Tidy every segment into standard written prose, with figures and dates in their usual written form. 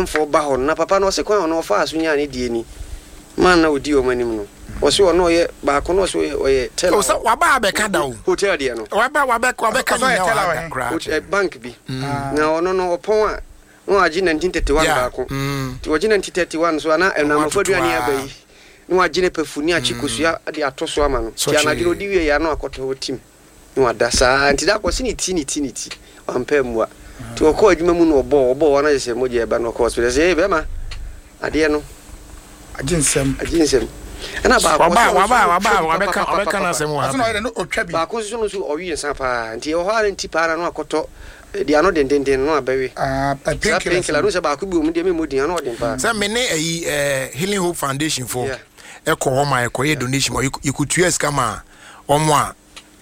amanfoɔ ba hɔ no, na papa no ɔse kwan a ɔno ɔfaa so nyaa ne deɛ ni, man na ɔdi wɔn anim no, ɔse ɔno ɔyɛ baako no ɔse ɔyɛ ɔyɛ teller Oh, sɛ wɔ waba abɛka da o. hotel deɛ no. Waba wabɛ wabɛka Ɔsɛ ɔyɛ ne nyinaa wɔ teller ha wɔ da he? koraa Hot kyerɛ. eh, bank bi. Na ɔno no ɔpɔn a na wagye 1931 Yeah. baako. Nti ɔgye 1931 nso a na Ɔmo ɛnamafo atoto aduane aba aa. yi na wagye ne pafu ne akye kosua de ato so ama no. Nti anadwo no Sɔkyee. ɔdi wieeɛ a na wakɔtɔ hɔ tim. Na wada saa ara nti da koro ɔse ne ti ne ti ne ti wampɛ ammua nti ɔkɔɔ adwuma mu na ɔbɔɔ ɔbɔɔ hɔ na kyerɛ sɛ mogya ɛba na ɔkɔɔ hospital sɛ ee bɛrima adeɛ no Agye nsɛm. agye nsɛm ɛna baako Waba ɔse ɔno waba nso waba ɔtwa bi wabɛka ɔbɛka papapapapa n'asɛm wɔ ha Ɔse na pɛn. ɔyɛ dɛ na ɔtwa bi. Baako nso no nso ɔwe nsa paa nti ɛwɔ hɔ ara nti paa na na wakɔtɔ deɛ ano dendenden no na wabɛwe Ah, saa painkillers painkiller no. no sɛ baako bi wɔ mu deɛ memmɔ din ano ɔden paa. Sɛ me ne ayi eh, Healing Hope Foundation foɔ Yeah. ɛkɔ hɔ ma yɛkɔyɛ donation ma yɛkɔtua sika ma wɔn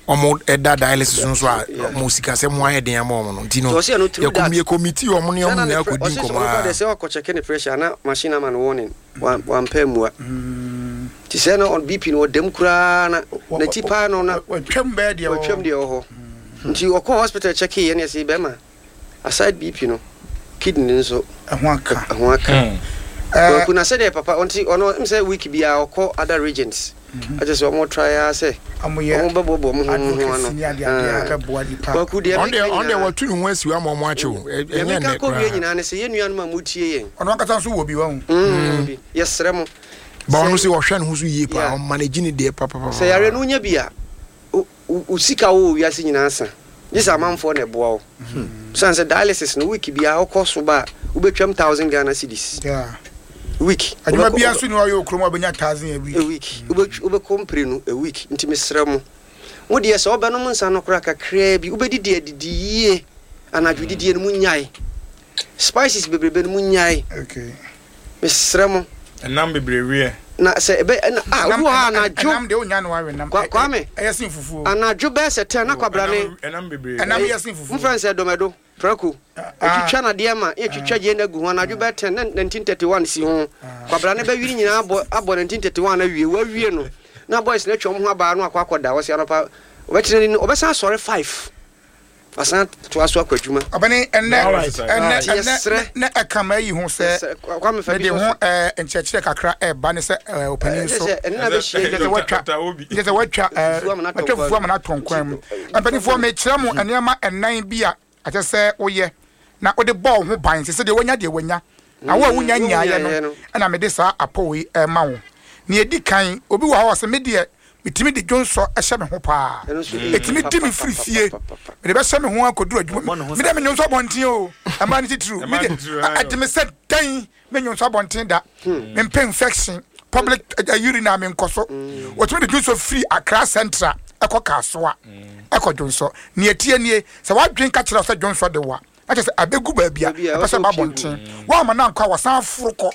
a wɔn da dialysis no so a wɔn sikasɛm ho ayɛ den ama wɔn no nti no yɛ committee wɔn ne wɔn nyinaa kɔ di nkɔmɔ aa. Sɛ ɔkɔ check ne pressure na machine ama no warning wampɛ mmua ti sɛ na BP no ɔdam koraa na n'ati paa no na watwam bɛɛ deɛ watwam deɛ wɔ hɔ nti ɔkɔ hospital check yɛ ne ɛsɛ bɛrima Aside BP no, kidney no nso Ɛho aka. ɛho aka. Kwaku na sɛdeɛ papa ɔnti ɔno m sɛ week biara ɔkɔ other regions. Akyɛ sɛ ɔmo try ara sɛ Ɔmo yɛ ɔmo bɛboaboa ɔmo ho ho ano. advocacy ne adeade a ɛbɛboa nipa. Kwaku deɛ Ɔno meka deɛ ɔno deɛ nyinaa watu ne ho asi hɔ ama ɔmo akye o. Deɛ Ɛnyɛ meka nnɛ kɔ wie koraa. nyinaa ne sɛ yɛn nuanom a motie yɛn. Ɔno ankasa nso wɔ bi wahu. Wɔ bi. Yɛsrɛ mo Ba ɔno sɛ sɛ ɔhwɛ ne ho so yie paa yeah. ɔmanage ne deɛ Sɛ yareɛ papapapa. no wonya bi a Wo sika a wowɔ wiase nyinaa sa, gye sɛ amanfoɔ na ɛboa wo. Ɛsiane sɛ dialysis no week biara wokɔ so ba a, wobɛtwam thousand Ghana cedis. Week. Adwuma biara nso ni hɔ a ɔyɛ wɔ kurom a wobɛnya thousand a week. A week. Wobɛkɔ mprenu a week. Nti mesrɛ mo, mo deɛ sɛ wobɛnom nsa no koraa kakraa bi, wobɛdidi adidi yie, anadwo didie no monnyae. Spices bebrebe no monnyae. Okay. Mesrɛ mo. Ɛnam bebree weɛ. Na sɛ ɛbɛ ɛna ah obi wɔ hɔ a anadwo. Ɛnam deɛ onya no awe nam. Kwa Kwame. Ɛyɛ sen fufuo. Anadwo bɛyɛ sɛ tɛn na kwabrane. Ɛnam bebree. Ɛnam yɛ sen fufuo. Mfrɛ no sɛ dɔmɛdo prako. Otwitwa nadeɛ ma yɛ twitwa gyeene agu ho anadwo bɛyɛ tɛn na 1931 si ho. Kwabrane bɛwiri nyinaa abɔ abɔ 1931 awie wawie no na boys no atwa wɔn ho abaa no akɔ akɔda wɔsi anɔpa ɔbɛtena ni no ɔbɛsan asɔre five. Wasan atoa so akɔ adwuma. Ɔbɛne ɛnɛ ɛnɛ Nti yɛsrɛ. ɛnɛ na ɛka ma ayi ho sɛ Yɛsrɛ Kwame fa bi mede sɔ ho so. ɛɛ nkyerɛkyerɛ kakra ɛɛba ne sɛ ɛɛ ɔpanin Ɛsɛ nso sɛ ɛne na bɛhyia yi kyerɛ sɛ watwa Dr. Obi. kyerɛ sɛ watwa ɛɛ Fufuo ama no atɔ watwa nkwan fufuo ama mu. no atɔ nkwan mu. Nti fa Mpanimfoɔ ma me. mekyerɛ mo nneɛma ɛnan bi a ɛsɛ sɛ woyɛ na wode bɔ wo ho ban sɛ sɛdeɛ wanya deɛ wanya na wo a wonya Wo nyaeɛ no wonyaeɛ no. ɛna mede saa apɔw yi ɛrema wo. Nea ɛdi kan, obi wɔ hɔ a ɔsɛ me deɛ Metumi de dwonsɔ hyɛ me ho paa. Ɛtumi di me firi fie. Mede bɛhyɛ me ho akɔduru adwuma mu. Me deɛ menwonsɔ abɔnten o. Mmaa no titiriw. Me deɛ ɛde me sɛ dɛn menwonsɔ abɔnten da. Mempɛ infection. Public urine a menkɔ so. Wɔtumi de dwonsɔ firi Accra Central ɛkɔ Kasoa ɛkɔ dwonsɔ. Nea ɛteɛ nie, sɛ w'adwene ka kyerɛ wo sɛ dwonsɔ de wo a, na kyerɛ sɛ abɛgu baabi a ɛpɛ sɛ ɛba abɔnten. Woamma no ankɔ a, wɔsan foro kɔ.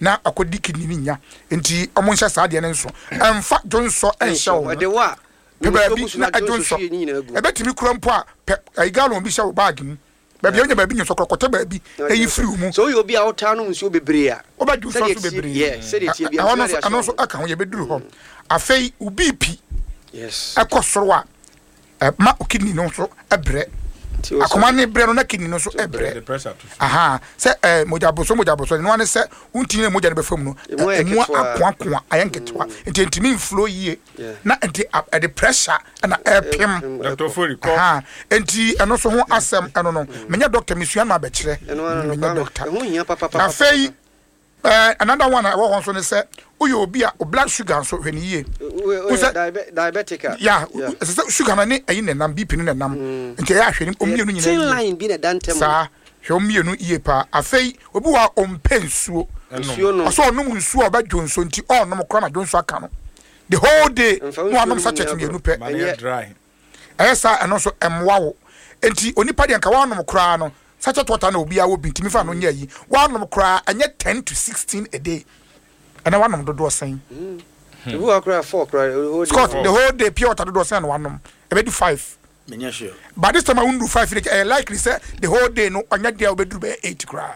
na akɔdi kidney no nya nti ɔmo nhyɛ saa deɛ no nso ɛnfa dwonsɔ nhyɛ wo ho pɛ baabi na ɛdwonsɔ ɛbɛtumi kura mpo a pɛ ayi gallon bi hyɛ wo bag mu baabi a wonya baabi nyonsɔ korɔ kɔtɛ baabi na yi firi wo mu sɛ woyɛ obi a wotaa nom nsuo bebree a wobɛdwonsɔ so bebree ɛhɔ no nso ɛno nso ɛka ho yɛbɛduru hɔ afei wo BP ɛkɔ soro a Ɛma wo kidney no nso brɛ. Akoma ne brɛ no na kidney no nso brɛ. Aha sɛ ɛɛ mogya boso mogya boso no ne sɛ wontumi na mogya no bɛfa mu no emu akoakoa ayɛ nketewa mm. nti ntumi nflo yie na nti ɛde pressure ɛna ɛpem. Dr. Fori kɔ. Aha nti ɛno nso ho asɛm ɛno no menyɛ doctor mesua no abɛkyerɛ menyɛ doctor. Afei Eh, another one a ɛwɔ hɔ nso ne sɛ woyɛ obi a o blood sugar nso hwɛ ne yie. Wo sɛ diabetic a. Ya, ɛsɛ sɛ sugar no ne ɛyi na ɛnam, BP no na ɛnam. Mm. Nti ɛyɛ ahwɛ ne mmienu nyinaa yie. Thin line bi na ɛda ntɛm. Saa, hwɛ wɔn mmienu yie paa. Afei obi wɔ a ɔmpɛ nsuo. Nsuo nom. Ɔsɛ ɔnom nsuo a ɔbɛdwo nsuo nti ɔnom koraa na dwo nsuo aka no. The whole day na wanom sachet mmienu pɛ. Ɛyɛ saa a ɛno nso ɛmmoa wo. Enti onipa deɛ nka woanom koraa no sachet water na obiara wɔ bi ntumi fa no nyɛ ayi. Woanom koraa ɛnyɛ ten to 16 a day. Ɛnɛ woanom dodoɔ sɛn? Ebi wɔ hɔ koraa four koraa the whole day. Scott, the whole day pure water dodoɔ sɛn na woanom? Ɛbɛdu five. Menyɛ sure. By this time a wondu five no ɛyɛ likely sɛ the whole day no ɔnyɛ deɛ a wobɛduru bɛyɛ eight koraa.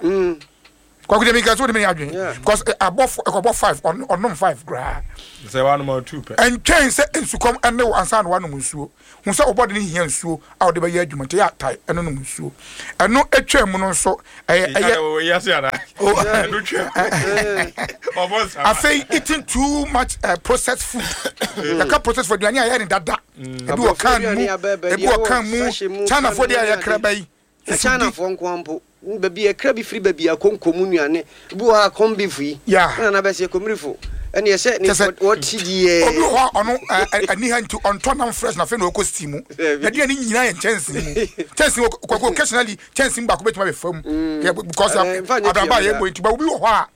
Kwaku deɛ meka sɛ wode me adwene because abɔ ɛkɔbɔ 5 ɔnom 5 koraa. Sɛ wanom a 2 pɛ. Ɛntwɛn sɛ nsukɔm ɛne wo ansa na wanom nsuo. Hu sɛ wo bɔde no hia nsuo a wode bɛyɛ adwuma nti ɛyɛ a tae ɛno nom nsuo. Ɛno atwa mu no nso ɛyɛ ɛyɛ. Afei eating too much processed food. Yɛka processed food aduane a yɛyɛ ne dada. Ebi wɔ can mu, ebi wɔ can mu. Chinafoɔ deɛ a yɛkra ba yi. Na Chinafoɔ nko ara mpo, baabi a ɛkra bi firi baabi a konko mu nnuane, ebi wɔ hɔ a corn beef yi, Yeah. na na bɛsɛ komirifo, ɛne ɛsɛ ne Kyɛ sɛ, wɔte deɛ. obi wɔ hɔ a ɔno ɛ, ɛ, ani ha nti ɔntɔ nam fresh na afei na ɔkɔ steam mu. Dabi. N'aduane nyinaa yɛ nkyɛnsee mu. Kyɛnsee mu, kwaku occasionally kyɛnsee mu baako bɛtumi abɛfa mu. Yeah, because Ɛɛ, mfa nyɛ abrabɔ a pii yɛbɔ nti, but obi wɔ hɔ a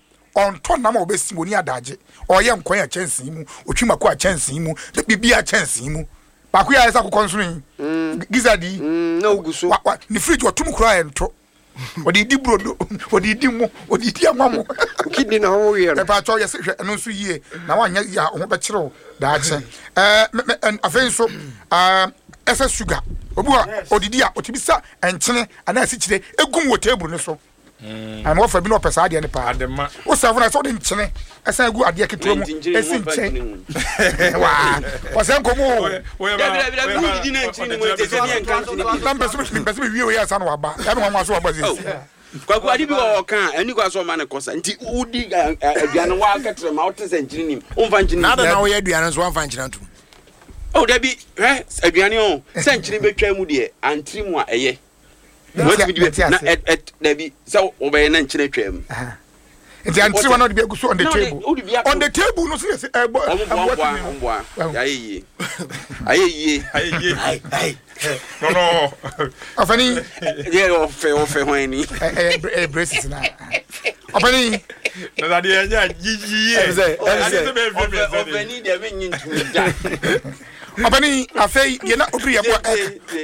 ɔntɔ nam a ɔbɛ steam, ɔni adagye. Ɔyɛ nkwan a kyɛnsee mu, ɔtwi mako a kyɛnsee mu, biribiara kyɛnsee mu. Baako yi ayɛ sɛ akokɔ nsono yi, gizzard yi. Na ogu so. Wa wa ne fridge ɔtum koraa ɛnto. Ɔde di brodo, ɔde di mo, ɔde di anwa mo. Kidney na ɔwɔ wiɛ no. Ɛpa atɔ yɛsɛ hwɛ ɛno nso yie na wanyɛ yie a ho bɛkyerɛw daakye. Ɛɛ mɛ mɛ afei nso ɛɛ ɛsɛ sugar. Obi wɔ ɔdidi a ɔtumi sa nkyene anaa asikyire egum wɔ table no so. Ana wɔfa bi na ɔpɛ saa adeɛ no paa. Wo sɛfo na sɛ wode nkyene ɛsan gu adeɛ ketewa mu ɛsi nkyɛn. Waa wɔsɛ nkɔmɔ o. Na mpɛ sɛ mepɛ sɛ mewie wei ansa na waba. Ɛne nwanwa so waba sɛsi. Kwaku ade bi wɔ ɔka a ɛni kwa sɛ ɔma ne kɔsa nti wodi aduane wa kɛtrɛ ma wote sɛ nkyene nim womfa nkyene Na adɛn na woyɛ aduane nso woamfa nkyene antom? Oh dabi hwɛ aduane o sɛ nkyene bɛtwa mu deɛ antiri mu a ɛyɛ. Wɔatumi di bɛ na ɛ ɛ dabi sɛ wɔbɛyɛ na nkyene atwa mu. Nti antiri wa na ɔde bi agu so on the table. On the table no so yɛ sɛ ɛbɔ ɛboa tumi no. Ɔmo boa ɔmo boa ayɛ yie ayɛ yie. Ayɛ yie. No no. Ɔfɛni. Yɛ ɔfɛ ɔfɛ hɔn ni. Ɛyɛ ɛyɛ braces na. Ɔfɛni. Na adeɛ ɛnyɛ yiyi yie. Ɛsɛ ɛsɛ. Ɔfɛni deɛ mi nyi ntumi da. Ɔbɛni afei deɛ na obiri yɛ bɔ ɛ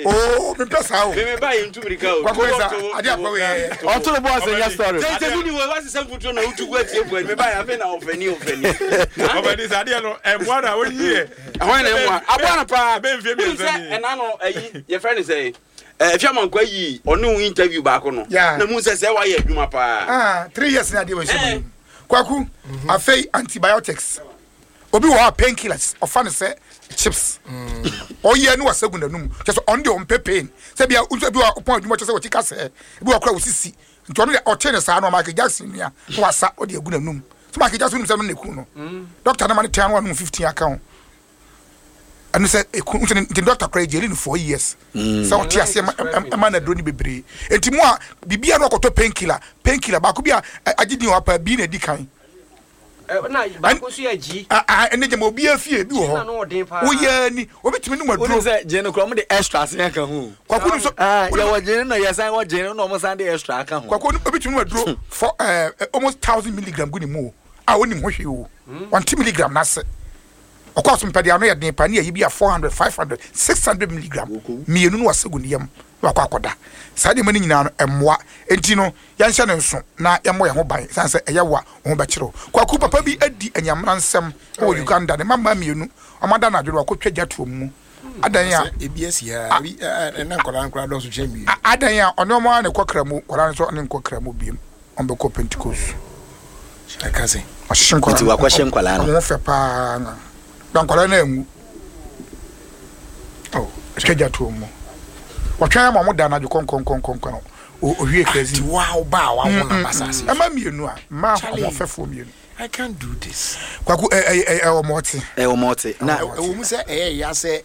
oo mi pɛ saa o. Mímí ba yi ntu mirika o. Kwako yɛ sa adi akɔ yɛ. Ɔtoro bɔ ase nyɛ story. Tete mi ni wo wa sisan futuro na otu gu atie bu mi ba yɛ afei na ɔfɛni ɔfɛni. Ɔfɛni sa adeɛ no ɛmoa na oyi yɛ. Ɛhɔn na ɛmoa aboa no paa. Bɛ nfie mmiɛnsa ni. Ɛna no ɛyi yɛ fɛ ne sɛ ɛfi amankwa yi ɔne wo interview baako no. Na mu sɛ sɛ wayɛ adwuma paa. Ah 3 years ni adeɛ wɔ nhyɛ mu. Kwaku afei antibiotics. Obi wɔ hɔ a pain killers ɔfa no sɛ chips. Ɔyɛ ne wasa gu n'anum. Kyɛ sɛ ɔno deɛ ɔmpɛ pain. Sɛ bia nso bi wɔ ɔpɔn adwuma kyɛ sɛ ɔti kasɛɛ. Ebi wɔ kora osisi. Nti ɔno deɛ ɔte ne saa no Michael Jackson nua na wasa ɔde agu n'anum. Sɛ Michael Jackson nim sɛ no na eku no. Doctor no ma no ten ano anum 15 aka ho. Ɛno sɛ eku nti nti doctor kora egyeli no 4 years. Sɛ ɔte aseɛ ma ɛma no aduro no bebree. Nti mu a biribiara no ɔkɔtɔ pain killer. Pain killer baako bi a agye din wɔ ha paa bi na edi kan. Na baako nso yɛ gyi. Ɛnɛ gyama obiara fie bi wɔ hɔ. Woyɛ ni obi tumi num aduro. Wonim sɛ gye no kora wɔn de extra asen aka ho. Kwaku no so. Yɛwɔ gye no na yɛsan wɔ gye no na wɔn san de extra aka ho. Kwaku obi tumi num aduro for almost 1000 milligram gu ne mu o a onim ho hwee o. Ɔnte milligram n'ase. Ɔkɔ aso mpɛ de ano yɛ den pa ne ayi bi a 400 500 600 milligram mmienu no wasa gu ne yam na wakɔ akɔda. Saa nneɛma no nyinaa no ɛmmoa. Enti no Yɛnhyɛ no nso na yɛmmɔ yɛn ho ban esiane sɛ ɛyɛ wo a, wo ho bɛkyere wo. Kwaku, papa bi adi anyamena nsɛm wɔ Uganda. Ne mmammaa mmienu, wɔada anadwo no, wɔakɔtwa gya to wɔn mu. Adan a. Ebi asi ha, ebi ɛna nkwadaa no koraa dɔɔso kyɛn mmienu. Adan a ɔne wɔn ara na ɛkɔ Kramu, nkwadaa no nso ɔne nkɔ Kramu biom, wɔbɛkɔ Pentecost. Ɛka sɛ. Ɔhyehye nkwadaa no. Nti wakɔhyɛ nkwadaa no. Wɔn ho fɛ paa na. Na nkwadaa no anwu. Oh, ɛtwa gya to wɔn mu. Wɔtwɛn ama wɔn da anadwo kɔnkɔnkɔnkɔnkɔn. Owie crazy. Ti wa wo ba a wawo na ba saase. Ɛma mmienu a mmaa ahoɔfɛfoɔ mmienu. I can't do this. Kwaku ɛ ɛ ɛ ɛwɔ mɔte. Ɛwɔ mɔte na. Ɛwɔ mu sɛ ɛyɛ ya sɛ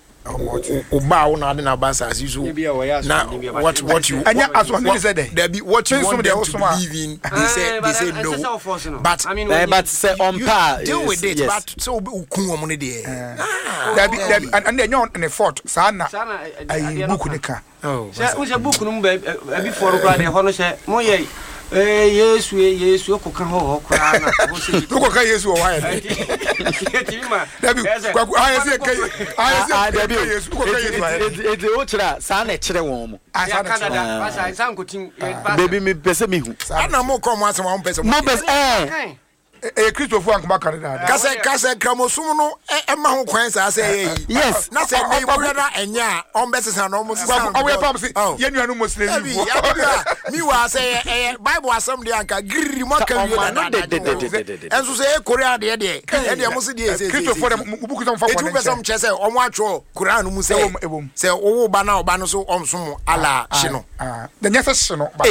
o ba a wo na ade na ba saase so na what what you. Ɛnyɛ asoɔden ne sɛ dɛ. Dabi what you want them to believe in they say no but. But sɛ ɔmpa a. Deal with it but sɛ o kun wɔn ne deɛ. Dabi dabi ɛnna ɛnyɛ ne fault saa na ayi book ne ka. Sɛ wohu sɛ book no mu baabi foɔ no koraa deɛ ɛhɔ no sɛ moyɛ ee Yesu ee Yesu wokɔka hɔ wɔ hɔ koraa na ɛhɔ sɛ yɛtumi wokɔka Yesu wɔ hɔ ayɛ dɛ yɛtumi ma dabi kwaku ayɛ sɛ yɛka ayɛ sɛ yɛka Yesu wokɔka Yesu ayɛ dɛ eti wokyerɛ a saa na ɛkyerɛ wɔn mo saa na ɛkyerɛ wɔn basa nsa nkotim baby mepɛ sɛ mehu ana mo kɔ mo asɛm a mo pɛ sɛ mo pɛ sɛ ɛɛ. Ɛyɛ Kristofo a nkɔmɔ aka no daadaa. Kasɛ kasɛ nkramosom no ɛma ho kwan saa sɛ ɛyɛ yi. Yes. Na sɛ ɛnɛ yi wɔhwɛ na ɛnyɛ a wɔn bɛ sesa na wɔn sesa no. Ɔwɔ yɛ pam se yɛn nua no Muslim yi. Ɛbi mi wa sɛ ɛyɛ ɛyɛ Bible asɛm deɛ anka giriri mo aka wie dadaada. Ɛnso sɛ ɛyɛ Korea deɛ deɛ ɛdeɛ mo se deɛ ɛsɛ ɛsɛ. Kristofo deɛ mo buku sɛ mo fa bɔne nkyɛ. Eti wopɛ sɛ mo kyerɛ sɛ wɔn atwerɛ Koran no mu sɛ sɛ wowo ba na ɔba no so ɔnsom Allah hye no. Nyɛ sɛ hye no but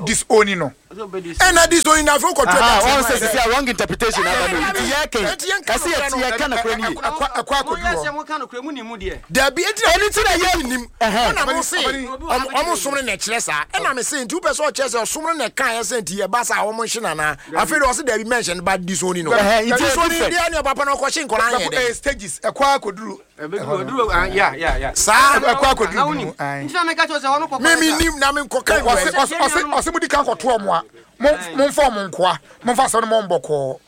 disown no. Ɛna disown na afei wokɔtwerɛ Aha, dat wɔn no sɛ ayɛ sisi dɛn? a wrong interpretation aba no nti yɛ kɛn Enti yɛnka ɛsɛ yɛ nokorɛ ti no. yɛ ka nokorɛ no yie. Ɛkɔ ɛkɔ akɔdu Moyɛ hɔ. sɛ moka nokorɛ mu nim mu deɛ. Dabi, enti na Ɛno nti na yɛ nim. ɛhɛn. Ɛna mo se ɔmo ɔmo som no na ɛkyerɛ saa. Ɛna me se nti wopɛ sɛ ɔkyerɛ sɛ ɔsom no na ɛkaeɛ sɛ nti ɛba saa a ɔmo nhye no anaa? Afei deɛ ɔse dabi mɛnhyɛ no but disown no. Ɛhɛn, nti ɛyɛ Disown different. deɛ ɛne papa no ɔkɔhye nkwadaa Ɛkɔ yɛ ɛyɛ dɛn? stages ɛkɔ akɔduru Ɛbɛduru ɛduru ah ya ya ya. Saa. Ɛkɔ akɔduru Na bi wonim. mu. Ae. Nti na meka kyerɛ wo sɛ hɔ no kɔkɔ Me yɛ me saa. nim na me nkɔka Ɔse wɔ. ɔse ɔse ɔse modi kan kɔto ɔmo a mo momfa ɔmo nkoa momfa asɛm no mo bɔkɔɔ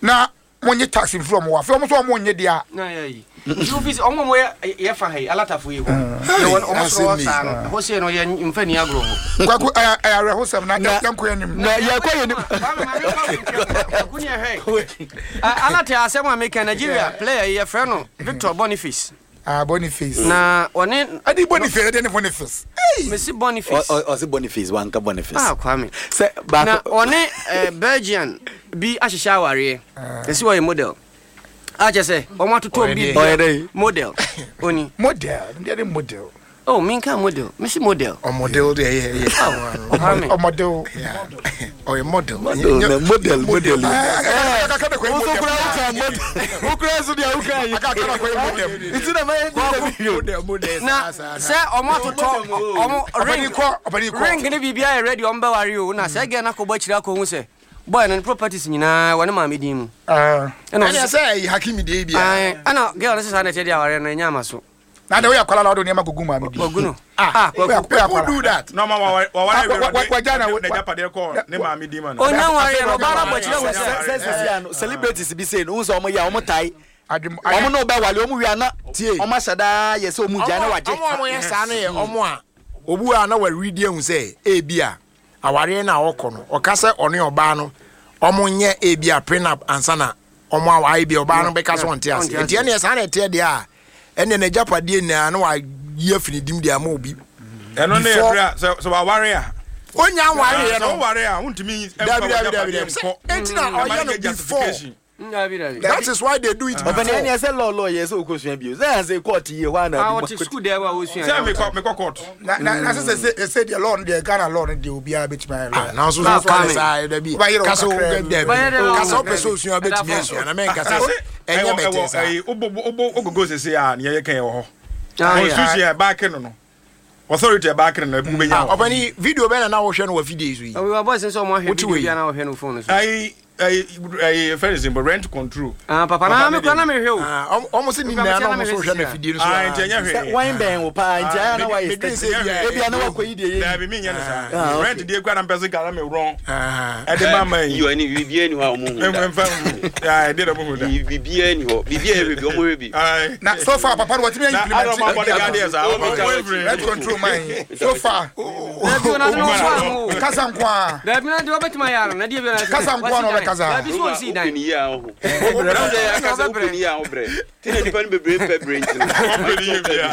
na monye tax mfiri ɔmo hɔ afei ɔmo nso ɔmo nye deɛ a. Na yɛ yi. Nti wofi sɛ ɔmo a ɔmo yɛ yɛ fa ha yi alatafo yi hɔ. Yɛ wɔ ɔmo soro hɔ saa no ɛhɔ sei no yɛ mfa ni agorɔ hɔ. Kwaku ɛyɛ ɛyɛ awerɛhosɛm na yɛnkɔ yɛn anim. Na yɛkɔ yɛn anim. Kwame maame nkɔ nkyɛn Kwaku ni ɛhwɛ. Alate asɛm a meka Nigeria player yi yɛfrɛ no Victor Boniface. Ah, Boniface. Na ɔne. Ɛdi Boniface ɛdi ne Boniface. Hey. Mesi Boniface. Ɔsi Boniface wanka Boniface. Ah Kwame. Sɛ baako. Na ɔne eh, Belgian bi ahyehyɛ awareɛ. Ɛsi ɔyɛ model. A kyɛ sɛ wɔn atoto bi bi model. Oni. Model, deɛ ne model. Oh, minka model. Mesi model. Ɔmodel deɛ ɛyɛ ɛyɛ. Kwame. Ɔmodel. Ɔyɛ model. Model na model model. Woso kura woka model. Wokura nso deɛ woka yi. Nti na mayɛ di na bi. Model model. Na sɛ ɔmo atotɔ ɔmo ring ring ne biribi ayɛ ready ɔmo bɛware o na sɛ gɛn akɔbɔ akyire akɔhu sɛ boy no ne properties nyinaa wɔ ne maame din mu. Ɛna sɛ ɛyɛ Hakimi deɛ bi a. Ɛna girl no sɛ saa na ɛkyɛ deɛ awareɛ no ɛnyɛ ama so. Na de woyɛ akwala na wode nneɛma gugu maame bi. Wagu no. Ah, Kwaku. People do that. Na ɔma waware Ah, wɔ wagya na ne n'agyapadeɛ kɔ ne maame din ma no. Onya nwareɛ no, ɔbaa no abɔ akyire ahu sɛ. Sɛ sisi ano celebrities bi sei no, wohu sɛ wɔn yɛ a wɔn tae. Adwem Wɔn ne wo bɛwale, wɔn wie a na Tie. wɔn ahyɛ daa yɛ sɛ wɔn gyae na wagye. Ɔmo a wɔyɛ saa no yɛ ɔmo a obu a na wɔaredi ahu sɛ ebi a awareɛ no a ɔkɔ no ɔka sɛ ɔne ɔbaa no ɔmo nyɛ ebi a prenup ansa na ɔmo awa ebi a ɔbaa no bɛka sɛ ɔnte ase nti ɛneɛ saa na ɛteɛ deɛ a ɛneɛ n'agyapadeɛ nyinaa na wayi afi ne dim deɛ ama obi. Ɛno ne ɛberɛ a sɛ sɛ waware a. Onya nwareɛ no. Sɛ woware a wontumi mfa Dabi dabi dabi w'agyapadeɛ dabi sɛ nkɔ. enti na Ɛma ɔyɛ no no nyɛ before. justification. Dabi dabi. That is why they do it before. Ɔpɛni ɛni ɛsɛ lɔɔ lɔɔ yɛ sɛ okɔ sua bio sɛ ɛsɛ kɔɔti yie hɔ ana. Ah ɔte sukuu dɛm a wosua. Sɛ mekɔ mekɔ court. Na na na sɛ sɛ sɛ deɛ law no deɛ Ghana law no deɛ obiara bɛtumi ayɛ lawyer. Ah nanso so ka ne saa dabi kasa o dabi kasa wopɛ sɛ osua bɛtumi asua na mɛnka sɛ ɛnyɛ bɛtɛ saa. Ɛwɔ wobɔ wobɔ ogogo sese a nea yɛka yɛ wɔ hɔ. Constitution a ɛbaake no no authority ɛbaake no no ebi wobɛnya wɔ. Ɔpɛni video bɛn na na wohwɛ no wɔ afidie so yi. Ɔwɔ boys nso ɔmo ahwɛ video bi a na wɔhwɛ no phone so. Ayi ayi ayi fɛn ne simple rent control. Ah papa na me kura na me hwɛ o. Ah ɔmo se ne nyinaa na ɔmo so hwɛ no afidie no so. Ah nti ɛnyɛ hwee. Wɔn bɛn wo paa nti ayɛ na wayɛ steady. Ebi a na wakɔ yi deɛ yɛ. Daabi mi nyɛ ne saa. Rent deɛ kura na mpɛ se nka na me wrong. Ɛde ma ma yi. Yɔ ɛni biribiara ni hɔ a ɔmo hu da. Nfa hu ɛde na ɔmo hu da. Biribiara ni hɔ biribiara yɛ hwɛ bi ɔmo hwɛ bi. Na so far papa no watumi ayi implement. Na adɔm abɔde gadeɛ saa. Rent control man so far. Kasa nko a. Dabi na deɛ ɔbɛtumi ayɛ ano na deɛ bi na kasa nko a na ɔbɛkasa. Dabi so ɔnsi dan. Wopɛ ni yie a ɔho. Wopɛ sɛ akasa wopɛ ni yie a ɔbrɛ. Ti na nipa no bebree mpɛ brɛ nti no. Ɔmpɛ ni yie bia.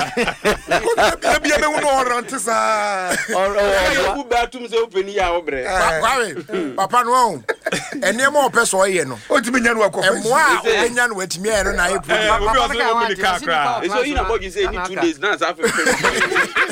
Ebi ebewu na ɔrante saa. Ɔbu bɛ atum sɛ wopɛ ni yie a ɔbrɛ. Kwame papa no ɔho nneɛma ɔpɛ sɛ ɔyɛ no. Ɔntumi nya no akɔ. Mmoa a ɔbɛnya no watumi ayɛ no na ayɛ problem. Obi ɔsɛ ɔmu ni kaa koraa. Ɛsɛ oyi na bɔdwe sɛ ɛni 2 days na asa afɛfɛ.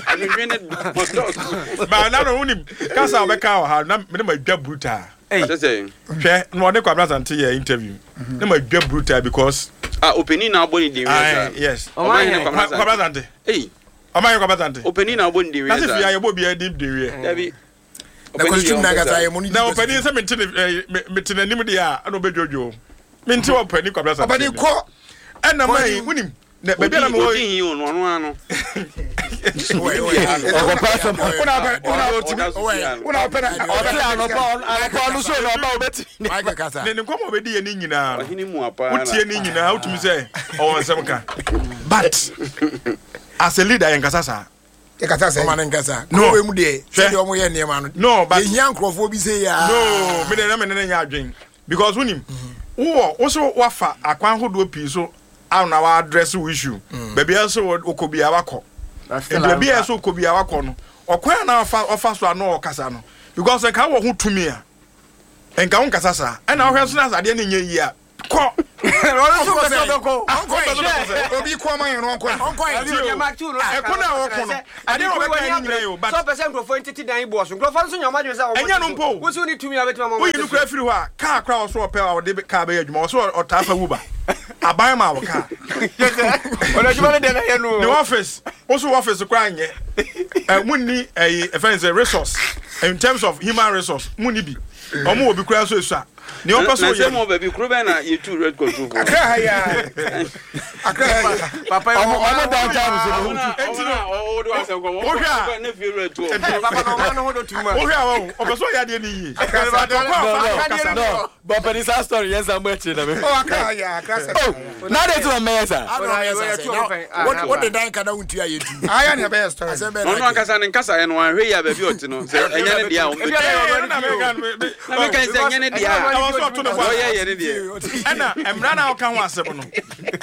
Adwendwen ne dɔɔso. Ba na no wonim kasa a ɔbɛka wɔ ha na mene ma dwa brutal. Sɛ Hwɛ na ɔne Kwabena Asante yɛ interview. Na ma dwa brutal because. Ah opanin na abɔ ne din wia saa. Yes. Ɔman hene Kwabena Asante. Kwabena Asante. Ei. Ɔman hene Kwabena Asante. Opanin na abɔ ne din wia saa. Na sɛ fia yɛ bɔ obiara din din wia. Dabi. Na kɔsitum na kasa yɛ mo ne. Na ɔpanin sɛ mente ne mete n'anim deɛ a ɛna ɔbɛdwodwo. Mente ɔpanin Kwabena Asante. Ɔpanin kɔ. Ɛna ma yi wonim. Na baabi a na mewɔ. Odi hin o no ɔno ano. Ɔkɔpɛ asɛm. Wona wopɛ na ɔte anɔpa anɔpa ɔno so na ɔba wobɛti. Michael kasa. Ne ne nkɔmɔ ɔbɛdi yɛ ne nyinaa no. Ɔhene mu apa. Wotie ne nyinaa wotumi sɛ ɔwɔ nsɛm ka. But as a leader yɛn kasa saa. Yɛ kasa sɛ. Ɔma ne nkasa. No wei mu deɛ sɛdeɛ ɔmo yɛ nneɛma no. No but yɛhia nkurɔfoɔ bi sɛ yɛ. No me deɛ na me ne ne nyɛ adwen. Because wonim, wowɔ wo so wafa akwan hodoɔ pii so a na wa address wo issue. Baabi a ɛsɛ wokɔ biara wakɔ. Nti baabi a ɛsɛ wokɔ biara wakɔ no, ɔkwan a na ɔfa ɔfa so a na ɔkasa no, because nka wɔ ho tumi a, nka wonkasa saa. Ɛna wohwɛ nso na sɛ adeɛ no nyɛ yie a, kɔ. Obi kɔ ɔma yɛn no ɔnkɔ. Ɛko na ɔko no, adeɛ na ɔbɛka ne nyina yɛ o, but. Sɛ ɔpɛ sɛ nkurɔfoɔ ntete dan boɔ so, nkurɔfoɔ nso nya wɔn adwene sɛ wɔn Ɛnyɛ no mpo o. Wo nso wonni tumi a wobɛtumi ama wɔn Woyi ate no so. koraa firi hɔ a, kaa koraa a ɔso ɔpɛ a ɔde kaa bɛyɛ adwuma, ɔso ɔtaa fa Uber. Aban ma wo kaa. Ɔno adwuma no deɛ na ɛyɛ no o. Ne office, wo so office koraa nyɛ. Ɛ munni ɛyi ɛfɛn ne sɛ resource in terms of human resource munni bi. Wɔn wɔ bi koraa nso esua. Nea ɔpɛ sɛ Na ɔyɛ sɛ no. mo baabi kuro bɛn na yɛtu red control fo. Akra ha yi ara. Akra ha yi ara. Papa yi Ɔmo ɔma ɔmo downtown so no. Enti no, Ɔwɔ de wasɛm kɔ. wohwɛ a, Ne fie wura tu ɔmo. Papa na ɔma no ho do too much. wohwɛ a wɔn ɔpɛ sɛ ɔyɛ adeɛ no yie. Akra But sɛ ɔkɔ a ɔfa No, so ɔkasa no, no. no. But pɛni saa story yɛn san bɔ akyire na mi. Oh, Akra ha yi ara. Akra sɛ. Oh, na de ti ma mɛyɛ saa. Ana ɔyɛ sɛ sɛ na wode dan ka na wontua yɛ tu. Aya na ɛbɛyɛ story. Asɛm bɛn Ɔno na ankasa ne nkasaeɛ no wanhwɛ yie a baabi a ɔte no sɛ ɛnyɛ ne deɛ a ɔmbɛtu. Ɛɛ, ɛno na meka no, me- Na meka sɛ ɛnyɛ ne deɛ a Ɛwɔ sɛ ɔto ne bo ɔyɛ ase. yɛ ne deɛ. Ɛna mmara no a ɔka ho asɛm no,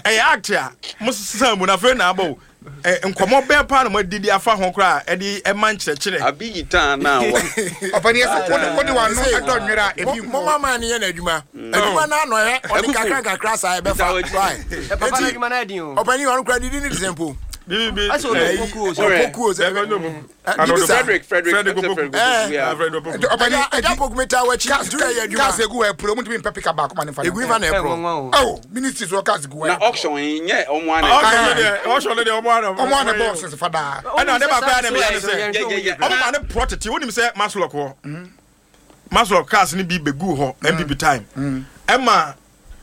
ɛyɛ act a mo sesa mu na afei na aba o. Ɛ, nkɔmmɔ bɛn paa na moadidi afa ho koraa a ɛde ɛma nkyerɛkyerɛ? Abi yitaa na wa. Ɔpɛni yɛ sɛ wode wode w'ano ɛdɔ nwera a ebi nkɔ. Moma maa no yɛ n'adwuma. Adwuma no ano ɛ, ɔde kakra nkakra saa ɛbɛfa. Why? Papa no adwuma no ayɛ den o. Ɔpɛni ɔno koraa didi ne te sɛ mpo. Bibi, Asɛ ɔdɔ pokuo sɛ. Ɔrɛ. Pokuo sɛ. Ɛbɛ no mu. Bibi saa. Frederick Frederick Frederick ɛsɛ Opoku. Frederick Eh. Opoku yeah. Fred Opoku. Nti ɔpɛni Ɛgya poku mi taa w'akyi. Nti yɛ adwuma. Cars egu hɔ ɛpuro mutumi mpɛ pika baako ma ne nfa Egu ifa na Ɛ ɛporɔ. nwanwa o. Oh, ministry so cars gu hɔ. Na auction yi nyɛ ɔmo ana. Auction no deɛ, auction no deɛ, ɔmo ana. Ɔmo ana bɔs fa daa. Ɛna ade baako a na meyɛ ne sɛ, Yeah, yeah, yeah. ɔmo ma ne porɔ tete, wonim sɛ Masloc hɔ. Masloc cars no bi bɛguu hɔ NPP time. Ɛma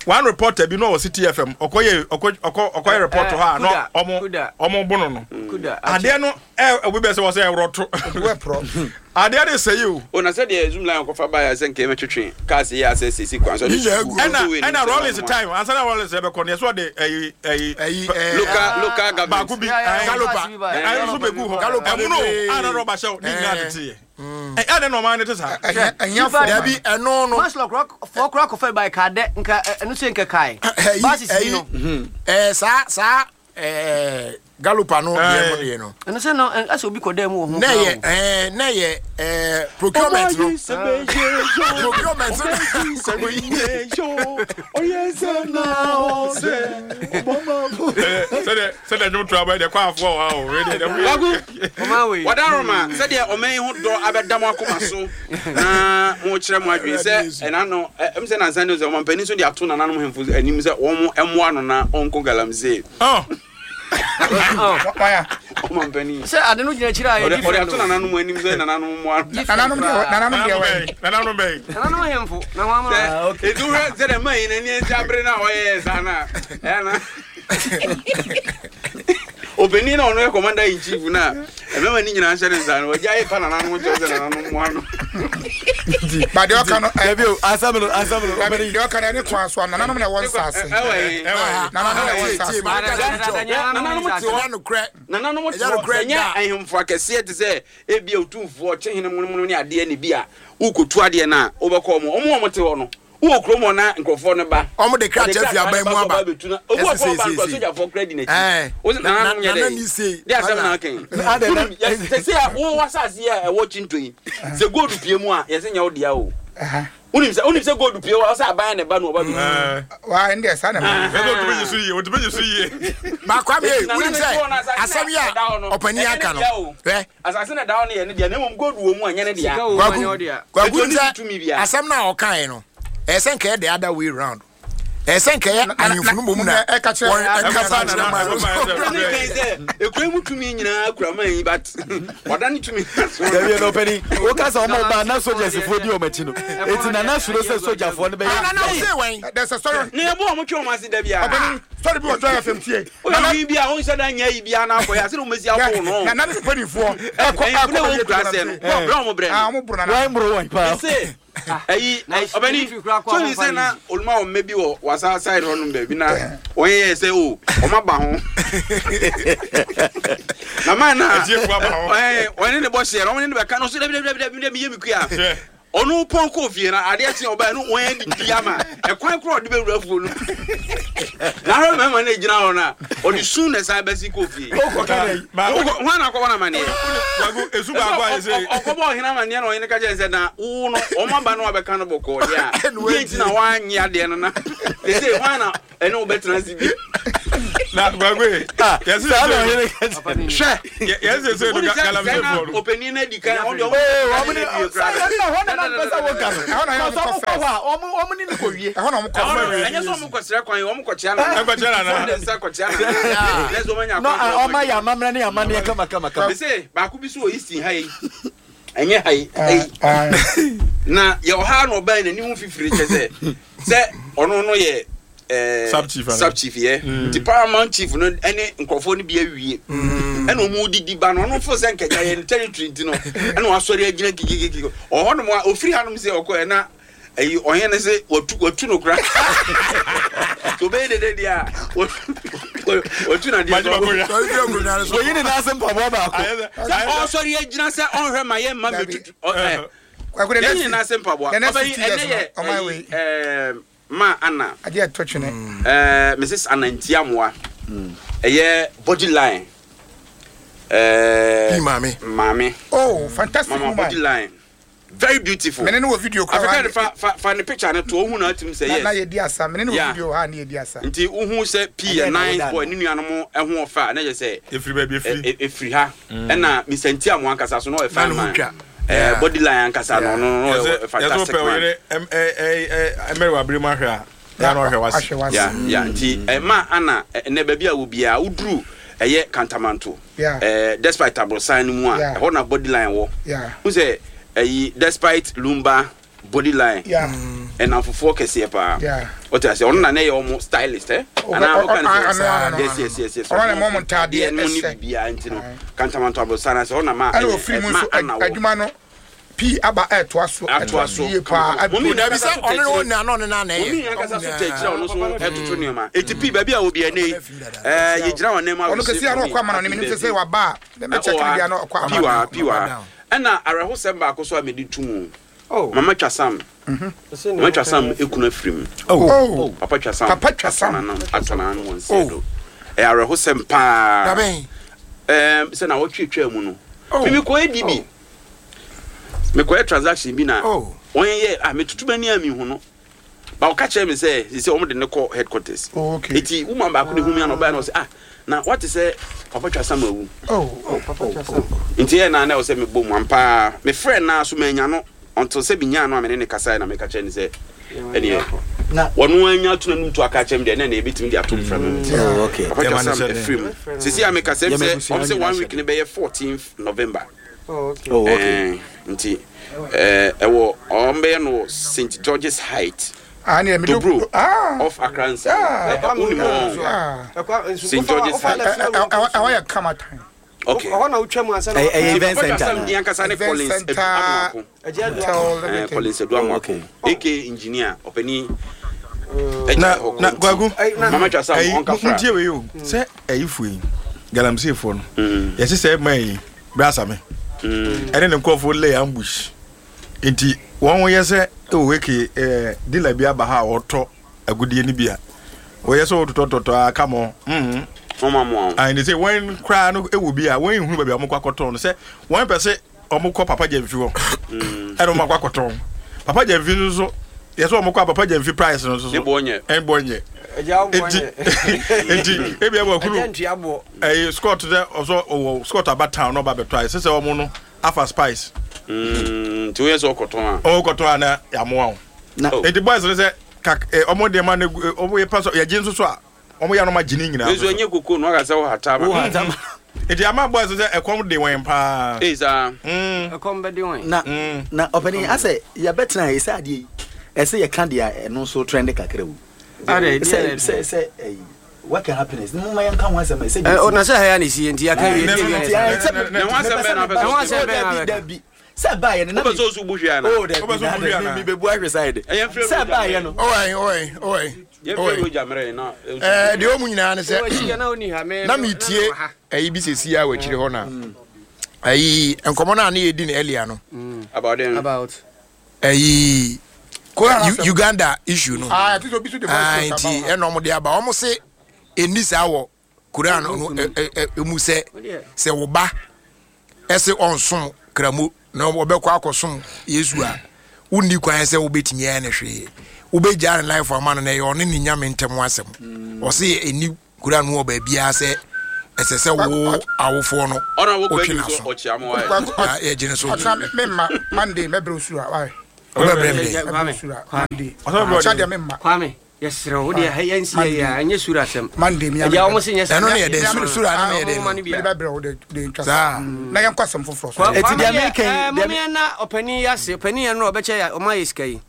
one reporter bi na ɔwɔ City FM, ɔkɔyɛ ɔkɔ ɔkɔ ɔkɔyɛ report hɔ a na ɔmo Kuda. ɔmo bo no no. Kuda. Adeɛ no ɛ obi bɛ sɛ wɔ sɛ ɛworɔto. Egu ɛporɔ. Adeɛ no sɛe o. O na sɛdeɛ zoom line kɔfa baeɛ a sɛ nka yɛmɛtwetwe cars yi a sɛ sisi kwan so ɔde Nyinaa gu gu. Ɛna motorway no ɛna sɛ Rollins ɔmo a- time ansa na Rollins ɛbɛkɔ no yɛsɛ ɔde ɛyi ɛyi Ɛyi pɛ- ɛɛ. Local local government. baako bi ɛɛ Galopa. ɛno nso bɛgu hɔ Galopa ɛmu no bebree. a na rɔba hyɛ wo ne nyinaa Ɛɛ. tete yɛ ɛ ɛdɛ na ɔman no te saa Ɛhia fo. Dabi ɛno no. Masloc fɔ kora kɔfɛ ba ka dɛ nka ɛno sɛ nka kae. Ɛyi Basis bi no. ɛyi ɛɛ saa saa ɛɛ galopa no deɛ mo deɛ no. Ɛno sɛ no ɛsɛ obi kɔ dɛ mu wɔ ho. Na yɛ ɛɛ na yɛ ɛɛ procurement no. Procurement no. Sɛdeɛ sɛdeɛ dwom to aba yi deɛ kɔ afoɔ wɔ ha o wei deɛ deɛ Kwaku, Ɔman wei. Wadaroma, sɛdeɛ ɔman yi ho dɔ abɛda mo akoma so na mokyerɛ mo adwene sɛ ɛna no ɛm sɛ nansa ne sɛ ɔmampanin nso de ato nananom hemfo anim sɛ wɔn mmoa no na ɔnko galamsey. Oh. Waya. Ɔmampanin. Sɛ ade no gyina akyire a yɛ Ɔde ɔde different ato o. nananom anim sɛ nananom mmoa no. Nananom deɛ nananom deɛ wɛn. Nananom bɛn. Nananom hemfo na wɔn ama. Sɛ edu hwɛ sɛ dɛ man yi n'ani agye abere na ɔyɛ saa na ɛyɛ na. Ɔpanin na ɔno yɛ commander in chief na ɛmɛma ne nyinaa hyɛ ne nsa no wagya ayɛ pa nananom kyɛw sɛ nananom mmoa no. Ba deɛ ɔka no ɛ. Dabi o asɛm no asɛm no. Dabi deɛ ɔka no ɛne kwan so a nananom na ɛwɔ nsaase. Ɛwɔ yi. Nananom na ɛwɔ nsaase. Nananom te hɔ. Nananom te hɔ sɛ nyɛ ahemfo akɛseɛ te sɛ ebi a otumfoɔ ɔkyehene monomono ne adeɛ ne bi a wokotu adeɛ no a wobɛkɔ ɔmo ɔmo a ɔmo te hɔ no Wowɔ kurom hɔ na nkurɔfoɔ no ba. Wɔn de krataa fi aban mu aba. Ɛsɛ sɛ sɛ sɛ. Sogyafoɔ kura di n'akyi. Wo sɛ nananom nyɛ dɛ. De asɛm na aka yi. Wonim sɛ sɛ a wo asase yi a ɛwɔ Kyinto yi sɛ gold pie mu a yɛsɛ nyɛ wo dea o. Wonim sɛ wonim sɛ gold pie hɔ sɛ aban na ɛba no ɔba bi. Wa ɛndeɛ saa na ɛma. Ɛsɛ otumi yi so yie otumi yi so yie. Baako ami wonim sɛ asɛm yi a ɔpanin aka no. Hwɛ. Asase na ɛda hɔ no yɛ ne dea, na mmom gold wɔ mu a, ɛnyɛ ne dea. Sika wɔ mu a, ɛnyɛ wo dea. Kwaku Enti ɔnni sɛ tumi biara. asɛm no a ɔkaeɛ no, ɛyɛ sɛ nka ɛyɛ the other way round. Ɛyɛ sɛ nka ɛyɛ ahemfo no mmom na ɛka kyerɛ wɔn ɛkasa kyerɛ man no. Ne kan sɛ ekura mu tumi nyinaa kura man yi but ɔda ne tumi so. Dabi ɛna ɔpɛni woka sɛ ɔmo ba na sogyasfoɔ di ɔmo akyi no eti nana suro sɛ sogyafoɔ no bɛyɛ. Nana wo se wɛn? There's a story. Ne ɛbo ɔmo twe ɔmo ase da biara. Ɔpɛni story bi wɔ Joy FM tie. Woyɛ ɔhene bi a wonhyɛ da nyɛ ayi biara na akɔyɛ ase na wɔmasi abow no. Nana ne mpanimfoɔ ɛkɔ Ɛyɛ ɛkɔ na baabi wɔn kura atu sɛ no. galamsey. Wɔn brɛ wɔn brɛ Ah, no. wɔn boro nana. Wɔn mboro wɔn paa. Mese ayi ɔbɛni so ni sɛ na oluma wɔn mɛ bi wɔ wasa side hɔ nom baabi na wɔn yɛ sɛ o wɔn aba ho. Na man na Atiefo aba ho. ɛɛ wɔn ne ne bɔ hyɛ wɔn ne ne bɛka no so dabi dabi dabi dabi yɛ mi kuya. Ɔno pɔn kɔɔ fie na adeɛ kye ɔbaa no wɔn adidi ama ɛkwan korɔ ɔde bɛwura fuo no na ahwɛ mmarima no gyina hɔ no a ɔde sun na ɛsan bɛsi kɔɔ fie. Hwan na akɔbɔ no amaneɛ? Ɔkɔbɔ ɔhene amaneɛ na ɔhene ka kyerɛ sɛ na wo no wɔn aba no abɛka no bɔkɔɔ deɛ a deɛ nti na woanye adeɛ no na sɛ hwan na ɛne wo bɛtena ase bi. Na gbagbe ah, yɛsi saa na ɔhene ka kyerɛ hwɛ yɛsi sɛ no galamsey fɔ no. Ɔpanin no adi kan ɔde ɔmo ɔmo ne sɛ ɛhɔ na na mpɛ sɛ wɔka no Ɛhɔ na yɛ kɔsɔ ɔmo ɔmo kɔ kɔ hɔ a ɔmo ɔmo ne no kɔ wie Ɛhɔ na ɔmo kɔ ɛhɔ no first. ɛnyɛ sɛ ɔmo kɔkyerɛ kwan ɔmo kɔkyea nana Ɛkɔkyea nana. Ɔmo de nsa kɔkyea nana na ɛsɛ ɔmo anya na kwan ɔmo ayɛ amammerɛ ne amanneɛ kama kama kama. Mese baako bi so wɔ Easton ha yi ɛnyɛ ha yi ha yi na yɛ ɔha na ɔbɛn n'ani ho fifiri kyɛ sɛ sɛ ɔno no yɛ ɛɛ Sub chief ana? sub chief yɛ nti paramount chief no ɛne nkurɔfoɔ no bi awie ɛna wɔn didi ba no ɔno fo sɛ nkɛgya yɛ ne territory nti no ɛna wasɔre agyina kikikiki ɔhɔ nom a ofiri hanom sɛ ɔkɔ ɛna ɛyi ɔhene no sɛ watu watu no kora so obɛyɛ dede deɛ a watu na deɛ Magye baako hwɛ. Sɔre firi akonnwa no so. Wɔyi ne nan ase mpaboa baako. Ayɛ sɛ sɛ ɔsɔre agyina sɛ ɔnhwɛ ma yɛ mma mɛtutu ɔ Kwaku, the yɛn next nyinaa ase mpaboa the next ɔbɛyi 50 years ɛnɛ no, yɛ ɔman ɛyi wei. ɛɛ ma ana Adeɛ ɛtɔ twene. ɛɛ Mrs Anantiamoa ɛyɛ body line ɛɛ Pii maame. maame Oh, fantastic mama body woman. line very beautiful. Mene ne wɔ video kora Africa ha de fa fa fa ne picture no to ohun na atim sɛ na na yes. yɛdi asa. Mene ne wɔ Yeah. video ha ne yɛdi asa. Nti wohu sɛ pii yɛ Ɛdeɛn na nice woda boy no? ne nuanom ɛho ɔfɛ a na yɛ sɛ efiri baabi efiri. ɛfiri ha ɛna Mr. Ntiamo ankasa so na ɔyɛ Na fine ne ho man. twa. Eh, Yeah. body line ankasa no ɔno no Yɛsɛ ɔyɛ yɛsɛ fantastic wopɛ man. oyere ɛm ɛ ɛ ɛ ɛmɛrɛ wɔ abiri mu ahwɛ a yɛn na ɔhwɛ wase. Ahwɛ wase. Ya ya nti ɛma ana ɛnɛ baabi a wɔ biara woduru ɛyɛ Kantamanto. Yeah. Eh, despite aborosan no mu a Yeah. ɛhɔ na body line wɔ. Yeah. Wo sɛ ɛyi despite lumba body line. Yeah. Ɛnamfofoɔ kɛseɛ paa. Yeah. Ɔte ase ɔno na ne yɛ ɔmo stylist ɛ. Oh, Anaa oh, ɔka ne oh, sɛ ah, ah, no, no, yes yes yes yes. Ɔno na ɛma ɔmo ntaadeɛ no ne ɛhyɛ. biribiara nti no Kantamanto aborosan ase ɔna ma Ɛna ofiri mu ma nso ana wɔ. adwuma no pii aba ɛtoa so Atoa so. yie paa. Mɔmi Dabi sɛ ɔno ne wo na na ɔne na na ɛyɛ. Omi ankasa so tɛ kyerɛ ɔno so ɛtoto nneɛma. Eti pii baabi a obi ɛnɛ yi ɛɛ yɛgyina wɔn nneɛma Ɔno kɛse ano ɔkɔ ama no ne menim sɛ sɛ waba a mɛkyɛ kene bia no ɔkɔ ama piwa no. piwa ɛna awerɛhosɛm baako so a mede to mu Oh. mama twa sam mama twa sam ekunu afiri mu Oh. papa twa sam Papa twa sam. atɔ n'ano wɔn nsa do ɛyɛ awerɛhosɛm paa Dabɛn. ɛɛm sɛ na wɔtwe twaa mu no mimi kɔɛ di bi mekɔyɛ transaction bi na Oh. wɔn yɛ ah metutu m'ani a mehu no ba ɔka kyerɛ me sɛ sisi wɔn de ne kɔ headquarters Oh, okay. eti woman baako de hu mi ana ɔbaa na ɔsɛ ah na wate sɛ papa twa sam awu Oh. nti yɛ na na ɛwɔ sɛ mebɔ mu ampaa mefrɛ naa so manya no until sɛ menyaa no a mene ne kasae na meka kyerɛ ne sɛ ɛneɛ Na- wɔno anya ato n'anom to aka kyerɛ me deɛ na ɛna ɛbɛtumi de ato mfra mu Oh, okay. papa twa Yɛma no sam hyɛ den. afiri mu sisi a meka sɛ Yɛma sɛ abusua ɔm sɛ nyinaa one hyɛ week ne bɛyɛ 14th November Oh, okay. Oh, okay. Eh, nti eh, ɛwɔ ɔm bɛyɛ no wɔ St George's Height Ah, ne medo Dobro Ah. off Accra nsa Ah. wonim ɔ Ah. St. George's Height. Ɛhɔ yɛ kama tan. okay Ɔhɔ na wotwa mu ansa na Ɛyɛ- ɛyɛ Nti event Papa Twa center Sam na. din ankasa ne Event Collins center. Aduamoako Agye Hotel, Aduamoako. Eh, everything. Collins Aduamoako Okay. aka engineer ɔpani Na na Kwaku. mama twa sam Ɛyi ɔnka fra ntie wei o sɛ ɛyi fo yi galamsey fo no yɛsɛ sɛ ɛma yi brasame ɛne ne nkurɔfoɔ lay ambush nti wɔn yɛ sɛ ɛwɔ eke ɛɛ dealer bi aba ha a ɔtɔ agudie no bi a wɔyɛ sɛ ɔtotɔtotɔ a kama mm ɔma mo a ayi ne sɛ wɔn koraa no ɛwɔ bi a wɔn ehunu baabi a wɔn kɔ akɔtɔn no sɛ wɔn pɛ sɛ wɔn kɔ papa gyamfi hɔ ɛna wɔn akɔ akɔtɔn papa gyamfi nso so yɛ sɛ wɔn kɔ a papa gyamfi price no nso so ne boɔ nyɛ ɛn bɔ nyɛ Agya wo boɔ nti nyɛ. nti ebi ɛwɔ Agya kuru ntua boɔ. ɛyi scott dɛ ɔsɔ ɔwɔ scott aba town na ɔba bɛtɔ ayɛ sɛ sɛ ɔmo no afa spice Mm, nti woyɛ sɛ ɔkɔtɔn a ɔmo kɔtɔn a na yamoa o Na Oh. nti boys no sɛ kak ɛ ɔmo deɛ ma no egu ɛ, ɔmo yɛ pasɔ yɛgye nso so a ɔmo yɛ anoma gye ne nyinaa nso nso so. ɛnyɛ koko no aka sɛ wohata wo ma hata ma- nti ama boys no sɛ ɛkɔm de wɔn paa ei saa mm Ɛkɔm bɛde wɔn. na mm na ɔpanin asɛ yɛbɛtena yi sɛ adeɛ yi ɛsɛ yɛka deɛ a ɛno nso trend kakra wo Adɛ, sɛ deɛ sɛ sɛ ɛyi work and happiness ne moma yɛnka ho asɛm ɛ sɛ Eh, oh, na sɛ ha ya na ɛsi nti yɛaka wie Ne- deɛ ne- wie nti yɛ ayɛ saa. sɛ Ne ho asɛm bɛn na wopɛ sɛ Ne ho asɛm bɛn na dabi wopɛ? dabi sɛ baayɛ no na wopɛ me sɛ ɔso bu hwee ana oh dabi Wopɛ sɛ na wobu hwee dabi anaa? mi bɛbu ahwɛ side Ɛyɛ mfrɛ sɛ Roger baayɛ no Ɔwɛn ɔwɛn ɔwɛn yɛmfrɛ ɔwɛn. Roger mmerɛ na Ɛɛ deɛ ɔmu nyinaa ne Wɔ akyi sɛ yɛ na wonni ha, me- na me- metie na mewɔ ha. ɛyi bi sɛsi a wɔ akyire hɔ na ɛyi nkɔmmɔ no a ne yɛdi no earlier no about then About. Ɛyi Uganda issue no. Ah, nti ɛna ɔmo de aba. Ɔmo se ɛnni saa wɔ Koran no emu sɛ sɛ wo ba ɛse ɔnsom kramo na ɔbɛkɔ akɔsom Yesu a wonni kwan sɛ wobɛtumi ayɛ no hwee. Wobɛgyaa ne life ama no na ɛyɛ ɔne ne nyame ntam asɛm. Ɔse ɛnni Koran mu wɔ baabiara sɛ ɛsɛ sɛ wo awofoɔ no wotwe n'aso na yɛgye no so. Memma Monday mɛbrɛ osura why? Wobɛbrɛ me dɛn? Mɛbrɛ osura Monday. Ɔkyɛ deɛ memma. Kwame yɛsrɛ wo deɛ yɛnsi yɛ a ɛnyɛ sura asɛm. Monday mi Agya wɔn se nyɛ saa. Ɛno ne yɛ dɛn sura no ne yɛ dɛn no. Mede bɛbrɛ wo de de ntwa saa. Na yɛnkɔ asɛm foforɔ so. Eti deɛ meka yi. Mom yɛn na ɔpanin yi ase ɔpanin yɛn no ɔbɛkyɛ yɛ ɔma yɛ sika yi.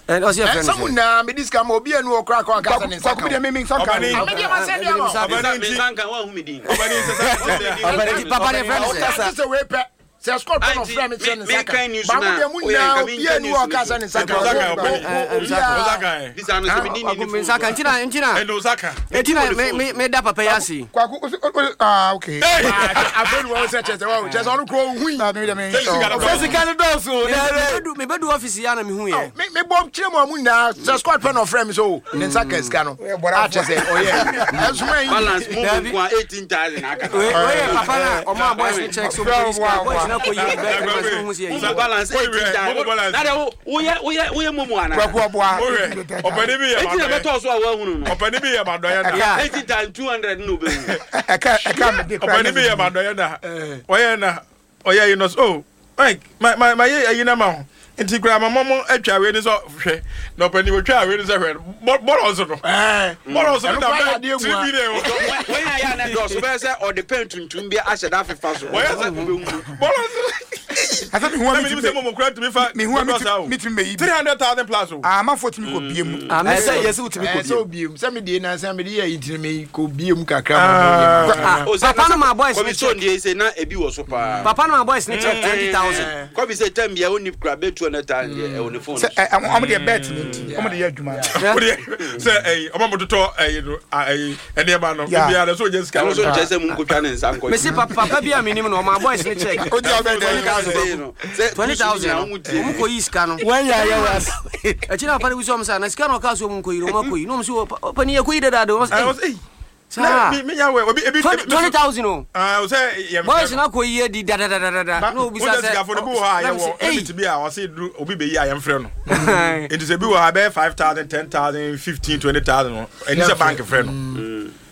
Ɔsi ɛfɛ no sɛ. Sɛ mo nyinaa mede sika ma obi anu ɔkora kɔ anka sɛ ne nsa ka. Kwaku deɛ me nsa nka. Ame deɛ ma sɛ deɛ ma. Ɔbɛni nti. Nsa nka wɔn ahumi din. Ɔbɛni nti sɛ sɛ. Papa deɛ fɛ no sɛ. Ɔka sɛ wei pɛ. Sɛ Scott pɛ na ɔfrɛ me kyerɛ ne nsa ka. Ba mo deɛ mo nyinaa obi anu ɔka sɛ ne nsa ka. Obiara. Bisa no sɛ me ni ni ni nsa ka ntina ntina. Ɛna nsa ka. Ntina me me me da papa yi ase. Kwaku ah okay. Afei ni wɔn sɛ kyɛ sɛ wɔn kyɛ sɛ ɔno kuro ohun yi. Sɛ sika no dɔɔso o. Me bɛ du ɔfisi ya na me hu yɛ. Me me bɔ kyerɛ mu a mu nyinaa sɛ Scott pɛ na ɔfrɛ mi so ne nsa ka sika no. A kyɛ sɛ ɔyɛ ɛsoma yi. Balance mu mu nko a 18,000 aka. Wei yɛ papa na ɔmo a boys ne check so mo sika boys na kɔ yi bɛ ɛma sɛ ohun si yɛ yi. Balance 18,000. Na de wo woyɛ woyɛ woyɛ momo ana. Kwaku ɔboa. Ɔpɛni bi yɛ ma dɔyɛ. Eti na bɛtɔ so a wɔahunu no. Ɔpɛni bi yɛ ma dɔyɛ na. 18,200 na obehu. Ɛka ɛka mi de kura. Ɔpɛni bi yɛ ma dɔyɛ na. Ɔyɛ na ɔyɛ yi no so oh Mike ma ma ma yɛ ayi na ma ho nti kura ma mɔmɔ atwa wei ni sɛ hwɛ na ɔpɛni otwa wei ni sɛ hwɛ bɔlɔ nso no bɔlɔ nso no da bɛ tiri bi de o. Wɔn yɛ ayɛ anɛ dɔɔso bɛyɛ sɛ ɔde pɛn tuntum bi ahyɛ da afefa so. Wɔyɛ sɛ bɔlɔ nso. Asa mi hu a mi ti sɛ mɔmɔ kura tumi fa mi hu a mi ti mi yi 300,000 plus o. Amanfoɔ tumi kɔ bie mu. Ɛsɛ yɛ sɛ wotumi kɔ bie mu. Sɛ obie mu sɛ mi die na sɛ mi de yɛ yi ntini mi kɔ bie mu kakra ma mo yɛ. Papa no ma boys ne check. Kɔbi so ndie sɛ na ebi wɔ so paa. Papa no ma boys ne check 20,000. Kɔbi sɛ tɛm bia oni kura bɛ 200,000 deɛ ɛwɔ ne phone. Sɛ ɛ ɔmo deɛ bet ne nti ɔmo de yɛ adwuma. Sɛ ɛyi ɔmo mo totɔ ɛyi no ɛyi nneɛma no ebi ara so onye sika. Ɛno so nkyɛn sɛ mu nkotwa ne nsa nkɔ. Mesi papa bi a mi nim no ɔmo boys ne check. O di ɔbɛ dɛ. 20,000 no ɔmo kɔ yi sika no. Wɔn yɛ ayɛ wa. Akyi na papa no bisa ɔmo sɛ na sika na ɔka so ɔmo nkɔ yi no ɔmo akɔ yi na ɔmo sɛ ɔpani yɛ kɔ yi dada de ɔmo sɛ saa 20,000 o. Sɛ yɛ boys na kɔ yi adi dadadadada na obisa sɛ sikafo no bi wɔ hɔ a yɛwɔ limit bi a ɔse duru obi bɛyi a yɛmfrɛ no nti sɛ bi wɔ hɔ a bɛyɛ 5,000 10,000 15 20,000 no ɛni sɛ bank frɛ no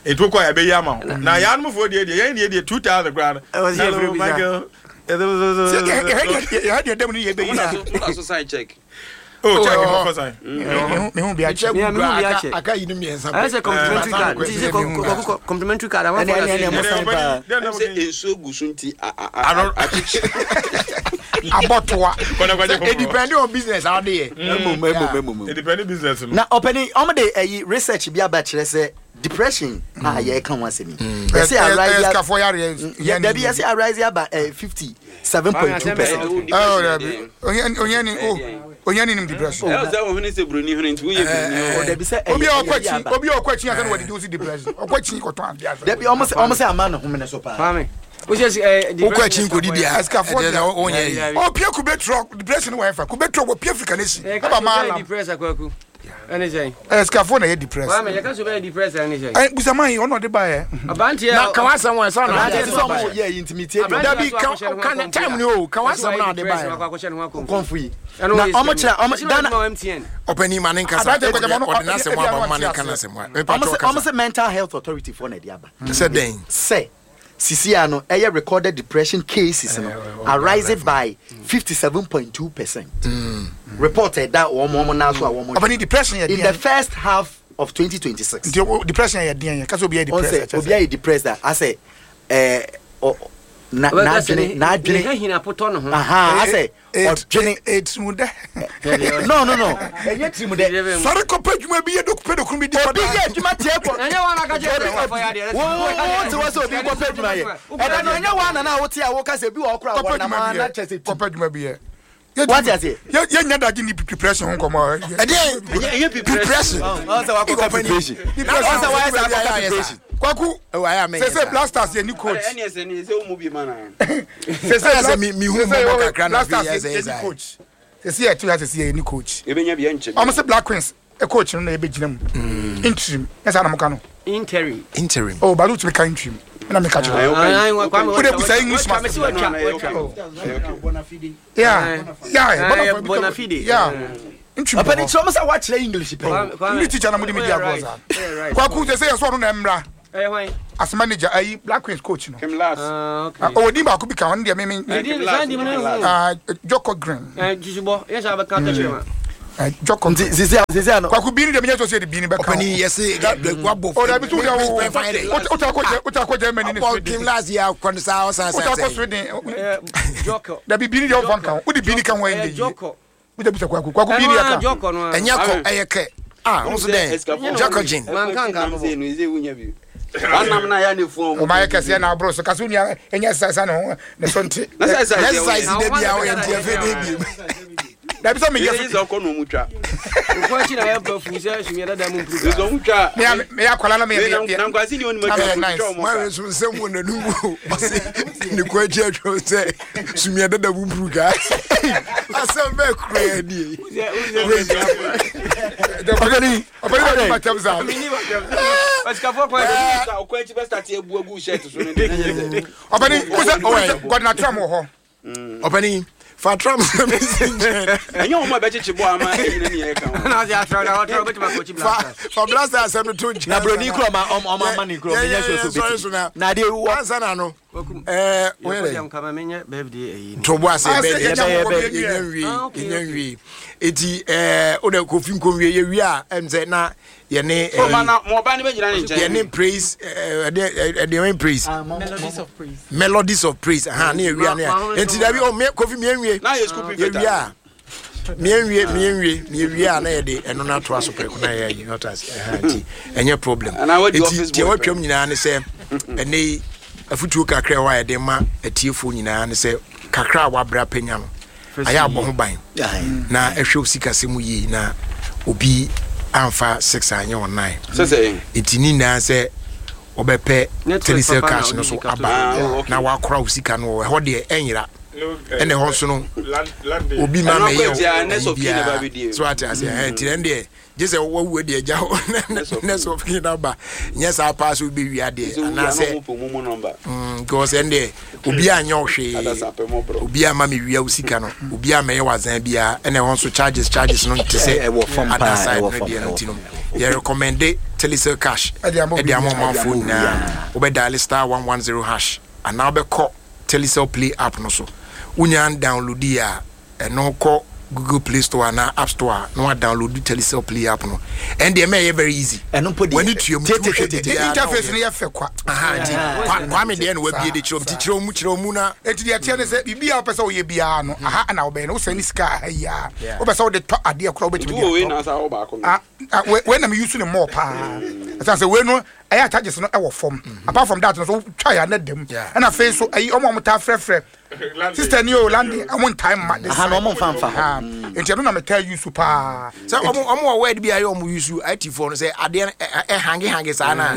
nti wokɔ a yɛbɛyi ama wo na yɛanomfoɔ deɛ deɛ yɛn deɛ deɛ 2,000 koraa no. Hello Michael. Yɛhɛ deɛ dɛm no yɛ bɛyi na. Wona so sign check. Oh, check mo fa sign. Mehu bi akyɛ. Me mehu bi akyɛ. Aka yi no mmiɛnsa. Ayɛ sɛ complimentary card. Nti sɛ kɔkɔ complimentary card àwọn afɔ na mo sign paa. Sɛ nsuo gu so nti abɔtoa. It depend on business a ɔde yɛ. Emom emom emom. It depend business no. Na ɔpɛni ɔmo de ɛyi research bi aba kyerɛ sɛ depression a yɛreka ho asɛm yi. Yɛsɛ arise dabi yɛsɛ arise aba 57.2%. Oh dabi ohiani o ohiani nim depression. Ɛwɔ sɛ ohun sɛ buroni hwene nti woyɛ buroni o. Dabi sɛ obi a ɔkɔ akyi obi a ɔkɔ akyi asɛ na wɔde di osi depression ɔkɔ akyi kɔtɔn adi asɛ. Dabi ɔmo sɛ ɔmo sɛ ama ne homene so paa. Kwame wokɔ akyi nkɔdi di a asikafoɔ ɛdeɛ sɛ wonyɛ yi. Ɔpie kube trɔ depression wɔ ɛfa kube trɔ wɔpie Africa n'esi ɛba maa lam. Ɛne sɛn? Ɛyɛ sikafoɔ na ɛyɛ depressed. Kwame yɛka sɛ ɔbɛyɛ depressed ɛne sɛn? Ɛ busaman yi ɔno ɔde ba yɛ. Aberanteɛ Na ka w'asɛm wɔ ɛsɛ ɔna Aberanteɛ sɛ ɔmo yɛ yi ntumi tie deɛ. Dabi ka ka ne time ni o ka w'asɛm na ɔde ba yɛ. Kɔnfo yi. Na ɔmo kyerɛ ɔmo Ghana. Ɔpɛni ma ne nkasa Aberanteɛ kɔjɛ ɔde n'asɛm aba ma ne nka n'asɛm wa. Ɔmo sɛ ɔmo sɛ mental health authority foɔ na ɛde aba. Sɛ dɛn? Sɛ sisi a no ɛyɛ recorded depression cases no arise by 57.2%. Report ɛda wɔn wɔn nan so a wɔn. Ɔpɛni depression yɛ In the first half of 2026. Nti depression yɛ deɛn yɛ kasa obi yɛ depressed. Ɔsɛ obi ayɛ depressed a asɛ ɛɛ ɔ na n'adwene n'adwene. Ne hina potɔ ne ho. Asɛ ɔdwene. Etirimu dɛ. No no no ɛnyɛ tirimu dɛ. Sɔre kɔpɛ adwuma bi yɛ dɔkupɛ dɔkunu bi di kɔda. Obi yɛ adwuma tiɛ kɔ. Ɛnyɛ wɔn aka kyerɛ sɛ wɔfɔ yɛ adeɛ. Wo wo te wɔ sɛ obi kɔpɛ adwuma yɛ. Ɛda no ɛnyɛ wɔn nana a wote a woka sɛ bi wɔ ɔkora wɔn nam a na kyɛ sɛ ti. Kɔpɛ adwuma bi yɛ. Wate aseɛ. Yɛ nya dagye ni depression ho nkɔmɔ. Ɛdeɛ ɛnyɛ depression. Ɔsɛ wakɔka preparation. Ɔsɛ wayɛ sɛ akɔka preparation. Kwaku sese blasters yɛ ni coach. Ɛne ɛsɛ ne sɛ wo mu bi ma na. Sese mi hu mɔbɔ kakra na blasters yɛ ni coach. Sɛsi yɛ ɛto ya sɛsi yɛ ni coach. Yɛbɛnya bi ɛnkyɛ. Ɔmo se Black Queens coach no na yɛbɛgyina mu. Interim. Nyɛ saa na mo ka no. Interim. Interim. Oh, but wotumi ka interim. Ɛna meka kyerɛ. Wo de busa English master. Yeah. Yeah. Bonafide. Yeah. Interim. Ɔpɛ ni kyerɛ ɔmo sɛ wakyerɛ English pɛ. English teacher na mo de mi di agorɔ saa. Kwaku sɛ sɛ yɛ sɛ ɔno na ɛmmra. As manager ayi Black Queens coach no. Kim Lars. Ɔwɔ din baako bi ka ɔno deɛ me me. Joko Green. Joko. Nti sisi a sisi a no. Kwaku bi ni deɛ menyɛ sɔ sɛ de bi ni bɛka. Ɔpɛni yɛ se wabɔ. O dabi so deɛ wo wota akɔ Germany ne Sweden. Kim Lars yɛ akɔ no saa ɔsan sɛ. Wota akɔ Sweden. Dabi bi ni deɛ ɔfa nka ho. Wode bi ni ka ho ɛnyɛ yie. Wota bisa kwaku kwaku bi ni yɛ ka. Ɛnyɛ kɔ ɛyɛ kɛ. Ah, nso dɛn? Joko Jin. Ɔma yɛ kɛseɛ na aboro so kasi onua ɛnyɛ exercise ne ho ne so nte. Exercise de bi a ɔyɛ nti ɛfɛ de bi. Dabi sɛ meyɛ so. Ɔkɔ na ɔmu twa. Nkɔ akyi na yɛ ba fu sɛ sumiɛ dada mu mpuru. Ɛsɛ ɔmu twa. Meyɛ akwadaa na meyɛ meyɛ. Na nkwasi ni ɔnum atwa ɔmu twa ɔmu. Maa nso nsɛm wɔ n'anum o. Ɔsi ne kɔ akyi atwa sɛ sumiɛ dada mu mpuru kaa. Asɛm bɛɛ kura yɛ nie. Ɔpɛni ɔpɛni bɛ ni ma tɛm sa. Ɔpɛni wosɛ Gɔdina Trump wɔ hɔ. Ɔpɛni fa Trump sɛ mi si nkyɛn. Ɛnyɛ wɔn a bɛkyekye bɔ ama ɛnyina ni ɛka ho. Na ɔsi atrɔ na ɔtrɔ bɛtuma kɔ kyi Black Stars. Fa Black Stars asɛm no to nkyɛn. Na broni kura ɔma ɔma ama ne kura ɔma nya sure so bɛti. Na adeɛ wɔ. Ansa na no. Ɛɛ wɔyɛ dɛ. Kama menyɛ birthday ɛyi. To bo ase bɛɛ yɛnya yɛnya nwie yɛnya nwie eti ɛɛ o de kofi nkonwie yɛ wie a ɛm sɛ na yɛne ɛɛ yɛne praise ɛɛ ɛde ɛde ɛwɛn praise. Melodies of praise. Melodies of praise ahan ne yɛ wie a ne yɛ eti dabi o mie kofi mie nwie yɛ wie a mie nwie mie nwie mie wie a na yɛde ɛno na ato aso pɛrɛko na yɛ ayi ɔtɔ ase ɛhan ti ɛnyɛ problem eti deɛ wɔatwam nyinaa ne sɛ ɛnɛ yi afutuo kakra ɛwɔ a yɛde ma atiefoɔ nyinaa ne sɛ kakra a wabra panya no ayɛ abɔ ho ban na ɛhwɛ osikasɛm mu yie na obi amfa six anyɛ wɔn nine eti ne nyinaa sɛ wɔbɛpɛ telecel cash no so aba na wakora wo sika no wɔ ɛhɔ deɛ ɛnyera ɛna ɛhɔ nso no obi ma mɛyɛ wo biara so ate ase ɛhɛn nti ɛn deɛ gye sɛ wawu deɛ agya hɔ next of kin aba nyɛ saa paa sɛ wobɛwi adeɛ anaasɛ because ɛn deɛ obi anyɛ wo hwee obi ama mewia wo sika no obi amɛyɛ wazan biara ɛna ɛhɔ nso charges charges no nte sɛ other side no deɛ no nti no yɛ recommende telecel cash ɛde ama ɔmanfoɔ nyinaa wobɛdial star 110 hash anaa wobɛkɔ telecel play app no so wonya download yi a ɛno kɔ google play store anaa app store a na wa download telecel play app no ɛn deɛ mɛ ɛyɛ very easy ɛno mpo deɛ w'ani tua mu ti wohwɛ biribiara interface no yɛ fɛ kwa aha nti kwame deɛ na wabie de kyerɛ mu ti kyerɛ mu kyerɛ mu na eti deɛ teɛ ne sɛ biribi a wopɛ sɛ woyɛ biara no aha na wobɛyɛ no wosɛn ne sika aha yi a wopɛ sɛ wode tɔ adeɛ koraa wobɛtumi de atɔ wei na me use ne more paa ɛsiane sɛ wei no ɛyɛ charges no ɛwɔ fam apart from that no so wotwa yɛ anɛ dam ɛna afei so ɛyi ɔmo a ɔmo taa frɛfrɛ sister ni o landi ɔmo ntaa mma de sa ɔmo nfa nfa hɔ nti ɛno na me taa use paa sɛ ɔmo ɔmo wɔ word bi a yɛ ɔmo use IT foɔ no sɛ adeɛ ɛhange hange saa na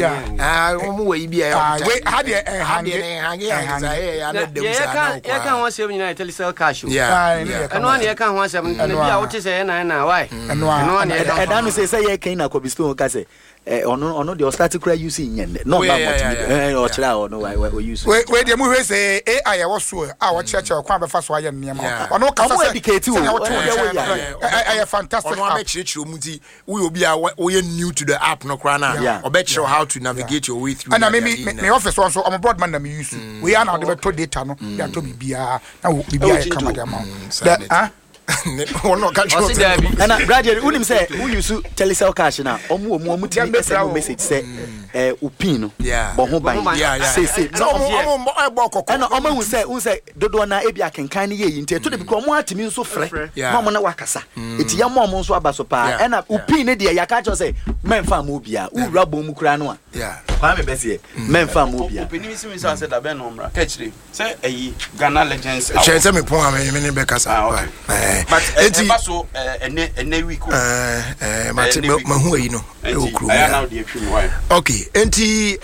ɔmo wɔ yi bi a ɔmo wei ha deɛ ɛhange ɛhange hange saa ɛyɛ yɛ anɛ dɛm saa na ɔkɔ yɛka ho asɛm nyinaa yɛ telecel cash o ɛno a na yɛka ho asɛm na bi a wote sɛ ɛna ɛna wae ɛno a na yɛka ɛda no sɛ sɛ yɛ kɛn na Kobe Stone ka sɛ ɔno ɔno deɛ ɔstart kura use nyɛ nnɛ na ɔba mɔtumi ɔkyerɛ a ɔno wa use. Wei deɛ mu hwɛ sɛ AI ɛwɔ so a wɔkyerɛkyerɛ ɔkwan a bɛfa so ayɛ nneɛma ɔno kasa sɛ sɛnea wote wo nkyɛn no ɛyɛ fantastic app. Ɔno abɛkyerɛkyerɛ mu nti woyɛ obi a woyɛ new to the app no koraa na ɔbɛkyerɛ how to navigate your way through. Ɛna me me me office wɔn so ɔmo broadband na me use wei a na ɔde bɛtɔ data no de atɔ biribiara na biribiara yɛ kama de ama wo. Ɔse daabi. Ɛna graduate wonim sɛ wo use telecel cash na ɔmo wɔ mu ɔmo tumi send wo message sɛ ɛɛ wo pin no bɔ ho ban seesei na ɔmo ɛna ɔmo ahu sɛ wohu sɛ dodoɔ na ebi akenkan no yɛ yi nti ɛtɔ da bi kora ɔmo atumi nso frɛ na ɔmo ne wakasa eti yɛ mo ɔmo nso aba so paa ɛna wo pin no deɛ yɛaka kyerɛ sɛ mɛnfa ama obiara wowura bɔn mu koraa no a Kwame bɛseɛ mɛnfa ama obiara. Ɔpanin si mi sɛ asɛ dabɛn na ɔmmra kɛkyire. Sɛ ɛyi Ghana Legends Award. Kyerɛ sɛ me pɔn a me ne bɛ kasa. Ah, okay. But ɛba so ɛnɛ ɛnɛ week o. Ɛɛ mate mahu ayi no ɛwɔ kurom. Ɛyɛ na ɔde atwi mu why. Okay, enti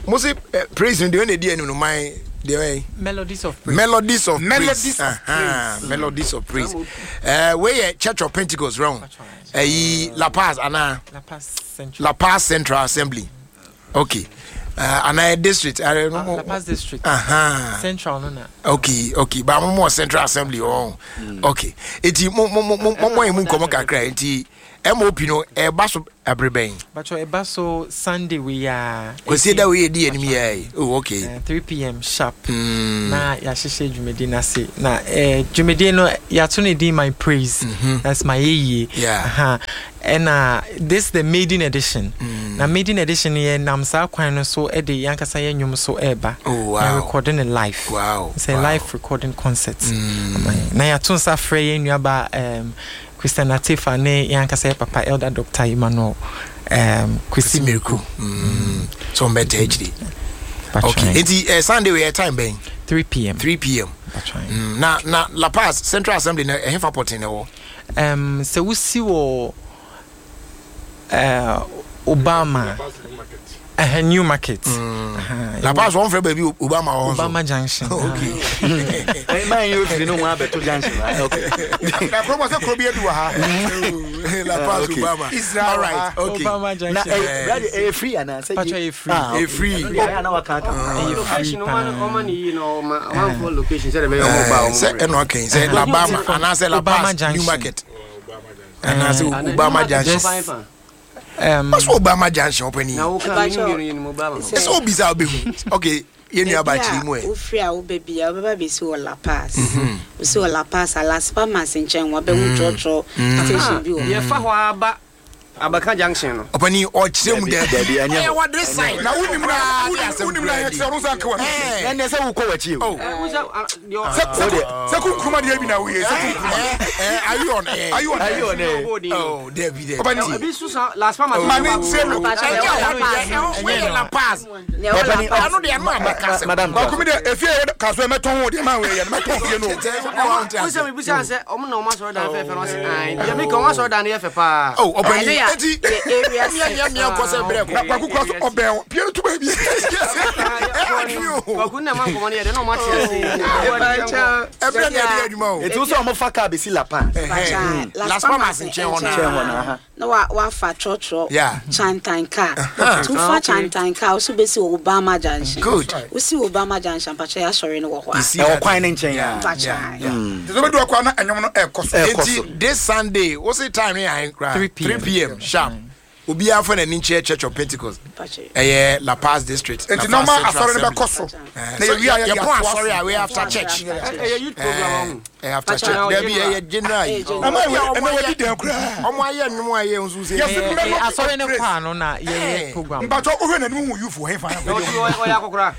mo se praise no deɛ ɛna edi anim no my Deɛ Melodies of Praise. Melodies of Melodies Praise. of Aha, Melodies of Praise. Wei yɛ Church of Pentecost rɛn. Ɛyi La Paz anaa La Paz Central. La Paz Central Assembly. Okay. Anaa district. La Paz district. Aha. Central no na. Okay. Ba mo mo Central Assembly oh. Okay. Eti mo mo mo mo mo emu nkɔmɔ kakra eti MOP no ɛba so abere bɛn? Bacho ɛba so Sunday wei ya. Kwesi da wei edi anim yɛ. Oh okay. 3 pm sharp. Na yɛahyehyɛ dwumadi no ase. Na dwumadi no yɛato ne din My Praise. That's my yeye. Yeah. Aha. Ɛna this the maiden edition. Na maiden edition yɛ nam saa kwan no so de yankasa yɛ nnwom so ɛɛba. Oh wow. Na recording ne live. Wow. It's a live recording concert. Na yɛato nsa frɛ yɛn nuaba Christian Atefa ne yɛn ankasa yɛ papa Elder Doctor Emmanuel Kwesi Mirku. So mbɛtɛ akyiri. Okay. Nti Sunday wei yɛ time bɛn? 3 pm. 3 pm. Na na La Paz Central Assembly na ɛhefa pɔten na ɛwɔ? Sɛ wosi wɔ Obama New Market. La Paz wɔn fɛ baabi Obama wɔ nso. Obama Junction. Okay. Maa yi ofiri ne ho abɛto junction. Okay. Na kuro bɔ sɛ kuro bi edu wɔ ha. La Paz Obama. Israel. All right. Okay. Obama Junction. Na brother ɛyɛ free ana? Patro ɛyɛ free. Ɛyɛ free. Ɛyɛ ana waka aka. Ɛyɛ free paa. Ɔma ne yi na ɔma ɔmanfoɔ location sɛ de bɛyɛ ɔmo ba ɔmo. Sɛ ɛna ɔkɛn sɛ La Bama anaasɛ La Paz New Market. Anaasɛ Obama Junction. Ɔsɛ Obama Junction ɔpɛni. Ɛsɛ obisa ɔbɛhu. Okay, yɛn nua ba kyerɛ mu ɛ. Wofiri a wobɛ bia wobɛba bɛsi wɔ La Paz. Wosi wɔ La Paz a Las Palmas nkyɛn wabɛhu trɔtrɔ station bi wɔ. Yɛfa hɔ aba Abaka Junction no. Ɔpɛni ɔkyerɛ mu dɛ. Dabi ɛnyɛ Ɔyɛ hɔ. wɔde sign. Na wonim na wonim na yɛkyerɛ no nsa nka wɔ. Ɛnɛ sɛ wokɔ w'akyi o. Sɛ kunkuruma deɛ bi na woyɛ sɛ kunkuruma. Are you on air? Are you on Are you air? on air? Oh, Dabi Dabi. Ɔpɛni Ebi susa Las Palmas. Ma ne nkyerɛ no. Ɛnyɛ hɔ deɛ ɛwɔ La Paz. Ɔpɛni Ɔno deɛ ɛno abɛka sɛ. Madam Baako mi deɛ efie yɛ kaso yɛ mɛtɔn wo deɛ maa wei yɛ no mɛtɔn fie no. Wosɛ mebisa sɛ ɔmo na ɔmo asɔre dan fɛfɛ no ɔse ae deɛ meka ɔmo asɔre dan no yɛ fɛ paa. Oh, ɔpɛni Ɛno yɛ eti area mia mia mia nkɔ sɛ brɛ Na kɔ. kwaku kura so ɔbɛn wo pie no to baabi. Kwaku na ɛma nkɔmmɔ no yɛ dɛ na ɔmo ate ase. Ɛbrɛ na ɛde adwuma o. Eti wosɛ ɔmo fa kaa besi La Paz. Las Palmas nkyɛn hɔ Nkyɛn hɔ na. na aha. Na wafa trɔtrɔ Yeah. chantan car. Nti wofa chantan car woso bɛsi wɔ Obama Junction. Good. Wosi wɔ Obama Junction mpakyɛ yɛasɔre no wɔ hɔ a. Ɛwɔ kwan ne nkyɛn a. Mpakyɛ. Nti sɛ wobɛdu akɔ a na ɛnwom no ɛkɔ so. Ɛkɔ so. Eti this Sunday, what's the time here? 3 p.m. 3 p.m. sharp. Obiara fa n'ani nkyerɛ Church of Pentecost. Mpakyɛ. Ɛyɛ La Paz district. Nti La Paz nɔɔma Central asɔre no Assembly. bɛkɔ so. Eh, Na so yɛwie a yɛde yɛpɔn atoa asɔre so. a we after church. Ɛyɛ youth program ɔho. Eh, after Pacho, church. ɛyɛ Dabi general. ɛyɛ general yi. Ɛyɛ Ama Ɔmo wei ayɛ- ɛnɛ wadi dɛn koraa. Ɔmo ayɛ nnwom a ɛyɛ nso sɛ. Yɛsi Melodies of Asɔre no Praise. kɔ ano na yɛyɛ program. Mpakyɛ wohwɛ n'anim hu youth wɔ hefa na Ɔyɛ ɔyɛ akɔkora.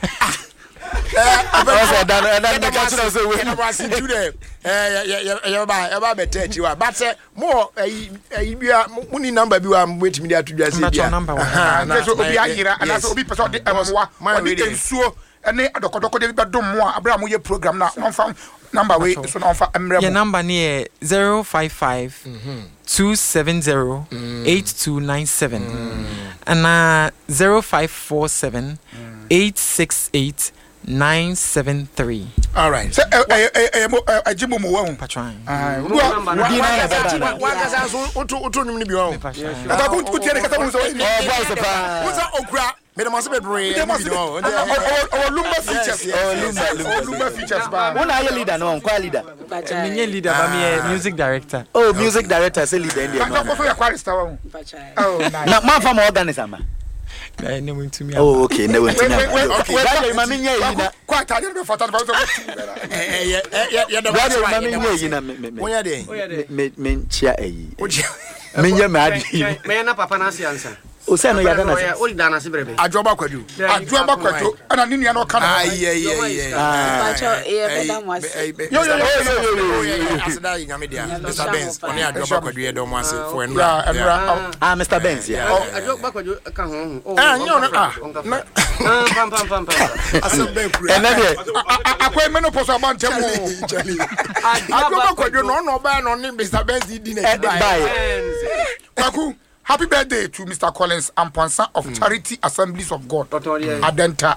Ɔsɛ ɛda no ɛda no meka kyerɛ wo sɛ wei. Yɛda mo ase nti dɛ yɛba yɛba bɛtɛ akyi wa but sɛ mo wɔ ɛyi ɛyi bi a mo ni number bi wa mo betumi de ato dwa sɛ bi a. Mpakyɛ number wɔ. Aha, na- Nti sɛ obi na- ayera yes. anaasɛ obi pɛ sɛ ɔde mmoa Man ɔde wei deɛ. nsuo ne adɔkɔdɔkɔdeɛ bi bɛdom mo a abere a moyɛ program no a ɔmfa number wei so na ɔmfa mmerɛ Yɛ mo. number no yɛ 055 270 8297 anaa 0547 868 973. All right. Sɛ ɛyɛ mo ɛgye mo mu wɔ ho. Patron. Wankasa nso woto woto nnwom no bi wɔ ho. Kwaku wotie ne kasa hu sɛ ɔyɛ Ɔbɔ ase paa. Wo sɛ okura mede mo ase bebree Mede mo ase ɛno bi no. ɔwɔ lumba features. Yes, yes, yes. Ɔwɔ lumba features paa. Wo na ayɛ leader no nkwa leader. Mpakyɛ. Menyɛ leader ba meyɛ music director. Oh music director sɛ leader ndie Mpakyɛ no. kɔ so yɛ chorister wɔ ho. Mpakyɛ. Oh nice. Na moamfa ma organist ama. Ne wɔntumi aba. Oh okay na wɔntumi Wait, wait, wait, aba. wait, Brother ma menyɛ yi na. Kɔ atadeɛ no bɛfata no fa sɛ wotu bɛra. Yɛda mo ase Brother wa, ma yɛda mo menyɛ ase. yi na me me me. Wonyɛ dɛn? Me me nkyia ayi. Wokyia- Menyɛ me ade yi. Mɛyɛ na papa no ase ansa. O sɛ no yɛda na se. Wode da no ase brɛ bɛ. Adwoba Kwadwo. Adwoaba Kwadwo ɛna ne nua no ɔka ne ho. Ayi ayi ayi. Mpakyɛ yɛbɛda mo ase. Yo yo yo yo yo yo. Aseda yi nyame dea. Mr Benz ɔne Adwoba Kwadwo yɛda ɔmo ase for Yeah, ɛnura. ɛnura. Ah Mr Benz yeah. Adwo bakwadwo ka ho ho. Eh, nyɛ ɔno ah. Na Pam pam pam pam. asɛm bɛn kura. Ɛnɛ deɛ Akɔ menopause aba ntɛm o. Charlie. Adwoba Kwadwo na ɔna ɔbaa na ɔne Mr Benz di n'akyi ɛde baeɛ. baeɛ. Kwaku. Happy birthday to Mr. Collins Amponsa of Charity Assemblies of God, Adenta.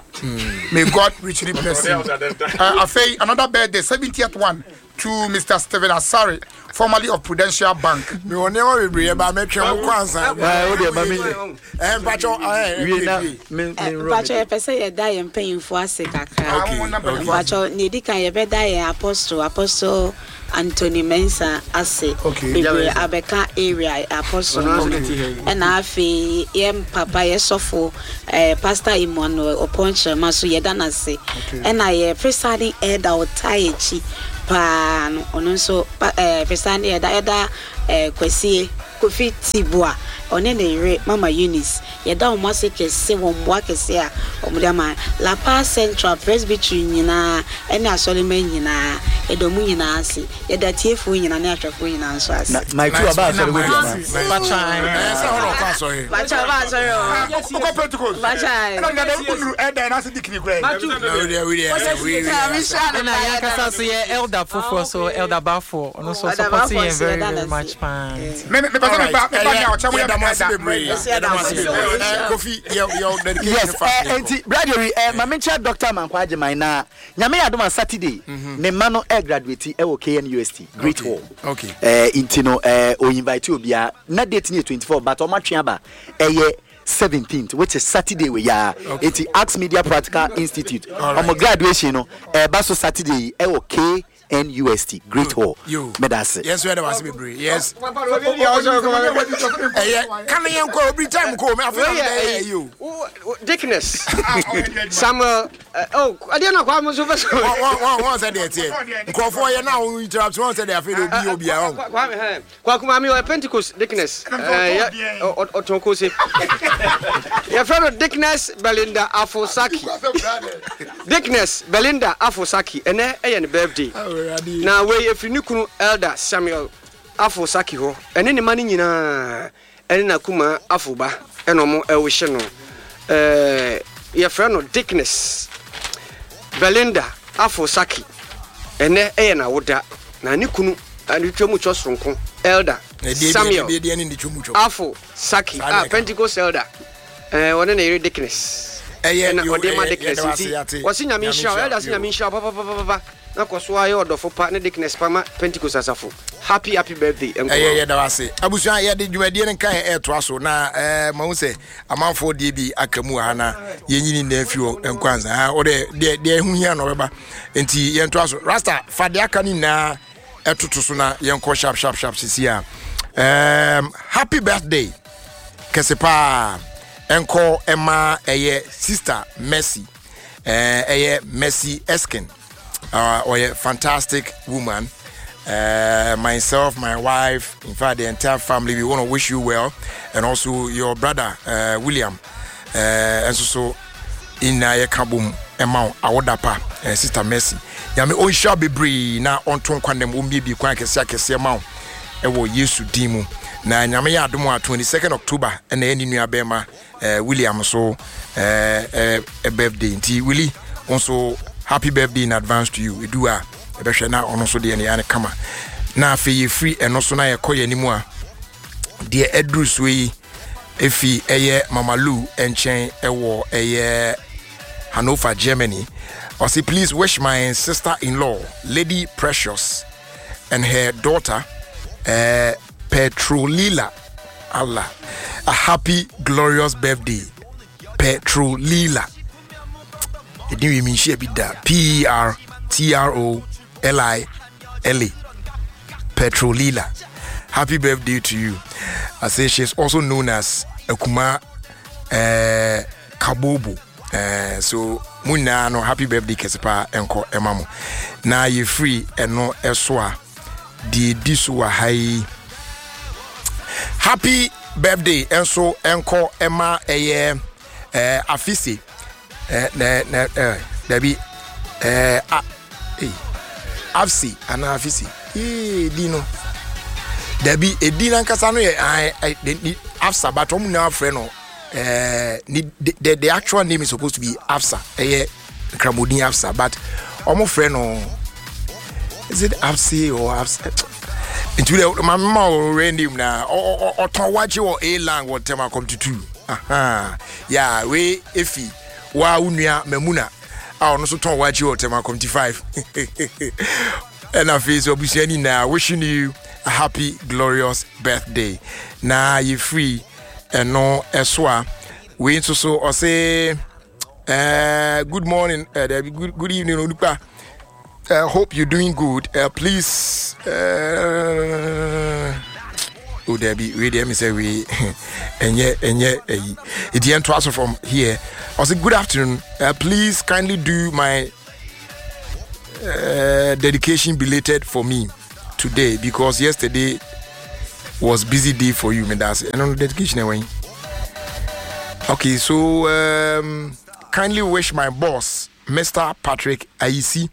May God richly bless you. Afei, another birthday, 70th one, to Mr. Stephen Asare, formerly of Prudential Bank. Mewɔ nneɛma bebree ɛba mɛtwɛn wo kɔ ansa. Ɛɛ o deɛ ma mi. Ɛɛ mpatsɔ ɛɛ wie na me me nrɔ. Mpatsɔ yɛpɛ sɛ yɛda yɛn mpanyinfoɔ ase kakra. Okay. Mpatsɔ nea edi kan yɛbɛda yɛn apostle apostle Anthony Mensah ase bebree abɛka area apostle no ɛna afei yɛn papa yɛ sɔfo eh, Pastor Emmanuel Opon Kyerema so yɛda no ase ɛna yɛ presiding elder ɔtaa yɛ akyi paa no ɔno nso eh, presiding elder elder eh, Kwasie Kofi Tibua ɔne ne yere Mama Eunice Yɛda wɔn ase kɛse wɔ mmoa kɛse a wɔde ama. La Paz Central Presbytery nyinaa ne asɔremma nyinaa, yɛda wɔn nyinaa ase. Yɛda atiefoɔ nyinaa ne ahwɛfoɔ nyinaa nso ase. Na Mike tu ɔba asɔre hɔ bi anaa? Ɛɛ sɛ hɔ na ɔkɔ asɔre. Bakyɛ ɔba asɔre hɔ. Wokɔ Pentecost. Bakyɛ. Ɛna nana wonuru ɛdan na ase dikini koraa. Na wei deɛ wei deɛ wei wei. Ɛna yɛn ankasa nso yɛ elder foforɔ so elder Bafo ɔno nso ɔsupɔte yɛn very very much paa nti. Me me pɛ sɛ me ba me ba nea ɔkyɛ mo yɛ me elder. Kofi yɛ yɛ dedication Yes, fa eh, enti Brad eh, ma menkyerɛ Dr. Amankwa Agyeman na Nyame yɛ adom a Saturday ne mma no eh, graduate ɛwɔ KNUST Great Hall. Okay. Eh, nti no eh, o invite obiara na date no yɛ 24 but ɔmo atwe aba ɛyɛ 17th which is Saturday wei aa. Enti Axe Media Practical Institute ɔmo graduation no ɛɛba so Saturday yi ɛwɔ K NUST Great Hall. Meda ase. Yɛn nso yɛda wase bebree. Yes. Ɛyɛ ka ne yɛn kɔ obi time kɔ omi afei na bɛyɛ ɛyi o. Dickness Samuel oh adeɛ na kwa mo nso fɛ so. Wɔn wɔn sɛ deɛ teɛ nkurɔfoɔ yɛ na wɔn interrupt wɔn sɛ deɛ afei de obi yɛ obi a wɔn. Kwame hɛn Kwaku maame ɔyɛ Pentecost Dickness ɛɛ ɔtɔn kose yɛfrɛ no Dickness Belinda Afosaki Dickness Belinda Afosaki ɛnɛ ɛyɛ ne birthday na wei efiri ne kunu Elder Samuel Afosaki hɔ ɛne ne ma no nyinaa ɛne n'akumaa Afoba ɛna ɔmo ɛwohyɛ no ɛɛ yɛfrɛ no Dickness Belinda Afosaki ɛnɛ ɛyɛ n'awoda na ne kunu ne twam twɔ soronko Elder Samuel Afosaki a Pentecost Elder ɛɛ ɔne ne yere Dickness ɛna ɔde ma Dickness nti wɔsi Nyame nhyira wo Elder se Nyame nhyira wo papapapapa. Na kɔ so ara yɛ ɔdɔfo pa ne deaconess pa ma Pentecost asafo. Happy happy birthday nko Ɛyɛ ara. yɛda wo ase. Abusua yɛde dwumadie no nkaeɛ ɛretoa so na ɛɛ mahu sɛ amanfoɔ deɛ bi aka mu wɔ ha na yɛnyi ne nyinaa mfiri hɔ nkɔ ansa. Ha wode deɛ deɛ ɛho hia na ɔbɛba nti yɛntoa so. Rasta fa deɛ aka no nyinaa ɛtoto so na yɛnkɔ sharp sharp sharp sisi a. Um, happy birthday kɛse paa ɛnkɔ ɛma ɛyɛ sister Mercy ɛɛ ɛyɛ Mercy Eskin. Uh, ɔyɛ fantastic woman. Myself, my wife, in fact, the entire family, we want to wish you well, and also your brother uh, William. Uh, and so, so in yɛka bom ɛma wo awoda pa eh, sister Mercy nyame ɔnhyira bebree na ɔnto nkwa nam ɔmmiebie kwan akɛseɛ akɛseɛ ma wo ɛwɔ Yesu din mu na nyame yɛ adom a 22nd October ɛna ɛne nua bɛrima eh, William so eh, eh, eh, birthday nti Willie nso happy birthday in advance to you edu a ɛbɛhwɛ na ɔno nso deɛ ne yɛ ne kama na afei yɛfiri ɛno so na yɛkɔ yɛn anim a deɛ ɛduru so yi efi ɛyɛ Mama Lou nkyɛn ɛwɔ ɛyɛ Hanover Germany ɔsi please wish my sister-in-law Lady Precious and her daughter uh, Petrolila Allah a happy glorious birthday Petrolila ɛdin wie menhyia bi da P E R T R O L I L A Petrolila happy birthday to you I say she's also known as Akuma uh, Kabobo uh, so mo nyinaa no happy birthday kɛse paa ɛnkɔ ɛma mo na yɛfiri ɛno ɛso a deɛ ɛdi so wɔ ha yi happy birthday nso ɛnkɔ ɛma ɛyɛ ɛɛ afise ɛɛ nɛ nɛ ɛɛ dabi ɛɛ a ee afse anaa afise ee di no dabi edi nankasa no yɛ ɛɛ ɛ afsa but wɔn nyinaa frɛ no ɛɛ ne the the actual name is supposed to be afsa ɛyɛ. Nkramodin Afsa but wɔn frɛ no is it Afsi or Afsa? Nti wode maame ma wo random na ɔtɔn wakye wɔ A lang wɔ ntɛm akɔm tutu. Aha. Ya we efi wa wo nua Mamuna a ɔno nso tɔn wakye wɔ ntɛm akɔm ti 5. Ɛna afei so abusua ni na wishing you a happy glorious birthday. Na yɛ free ɛno ɛso a wei nso so ɔse good morning, good evening onipa. Hope you're doing good. Please, oh, Debbie, we there, me say we, and yeah, and yeah, it's the end to us from here. I say good afternoon. Please kindly do my dedication belated for me today because yesterday was busy day for you. Me that's and on dedication anyway. Okay, so kindly wish my boss, Mr. Patrick Aisi,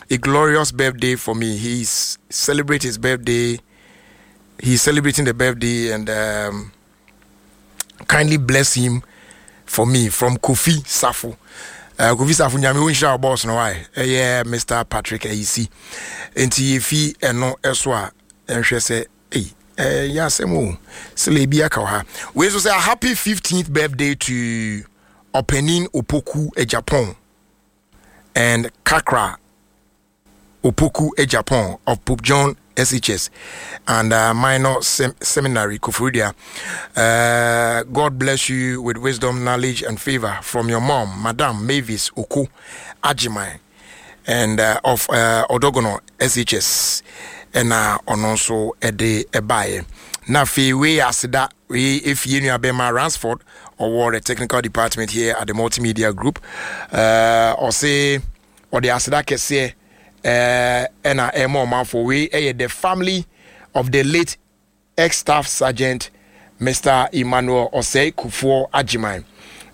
a glorious birthday for me. He's celebrate his birthday. He's celebrating the birthday, and kindly bless him for me from Kofi Safo. Kofi Safo nyame wo nhyira boss no why? Yeah, Mr. Patrick Aisi. Enti yefi eno eso a enhwe se eh ya semo sele bi aka ha. We so say a happy 15th birthday to Openin Opoku Japan and Kakra Opoku Japan of Pope John SHS and Minor Seminary Koforidua. God bless you with wisdom, knowledge, and favor from your mom, Madam Mavis Oku Ajimai, and of Odogono SHS. And on also a day a buy. Na fe we asida we if you knew Abema Ransford or the technical department here at the Multimedia Group, or say or the asida kese ena emo manfo we the family of the late ex-staff sergeant Mr. Emmanuel Osei Kufuor Ajimai.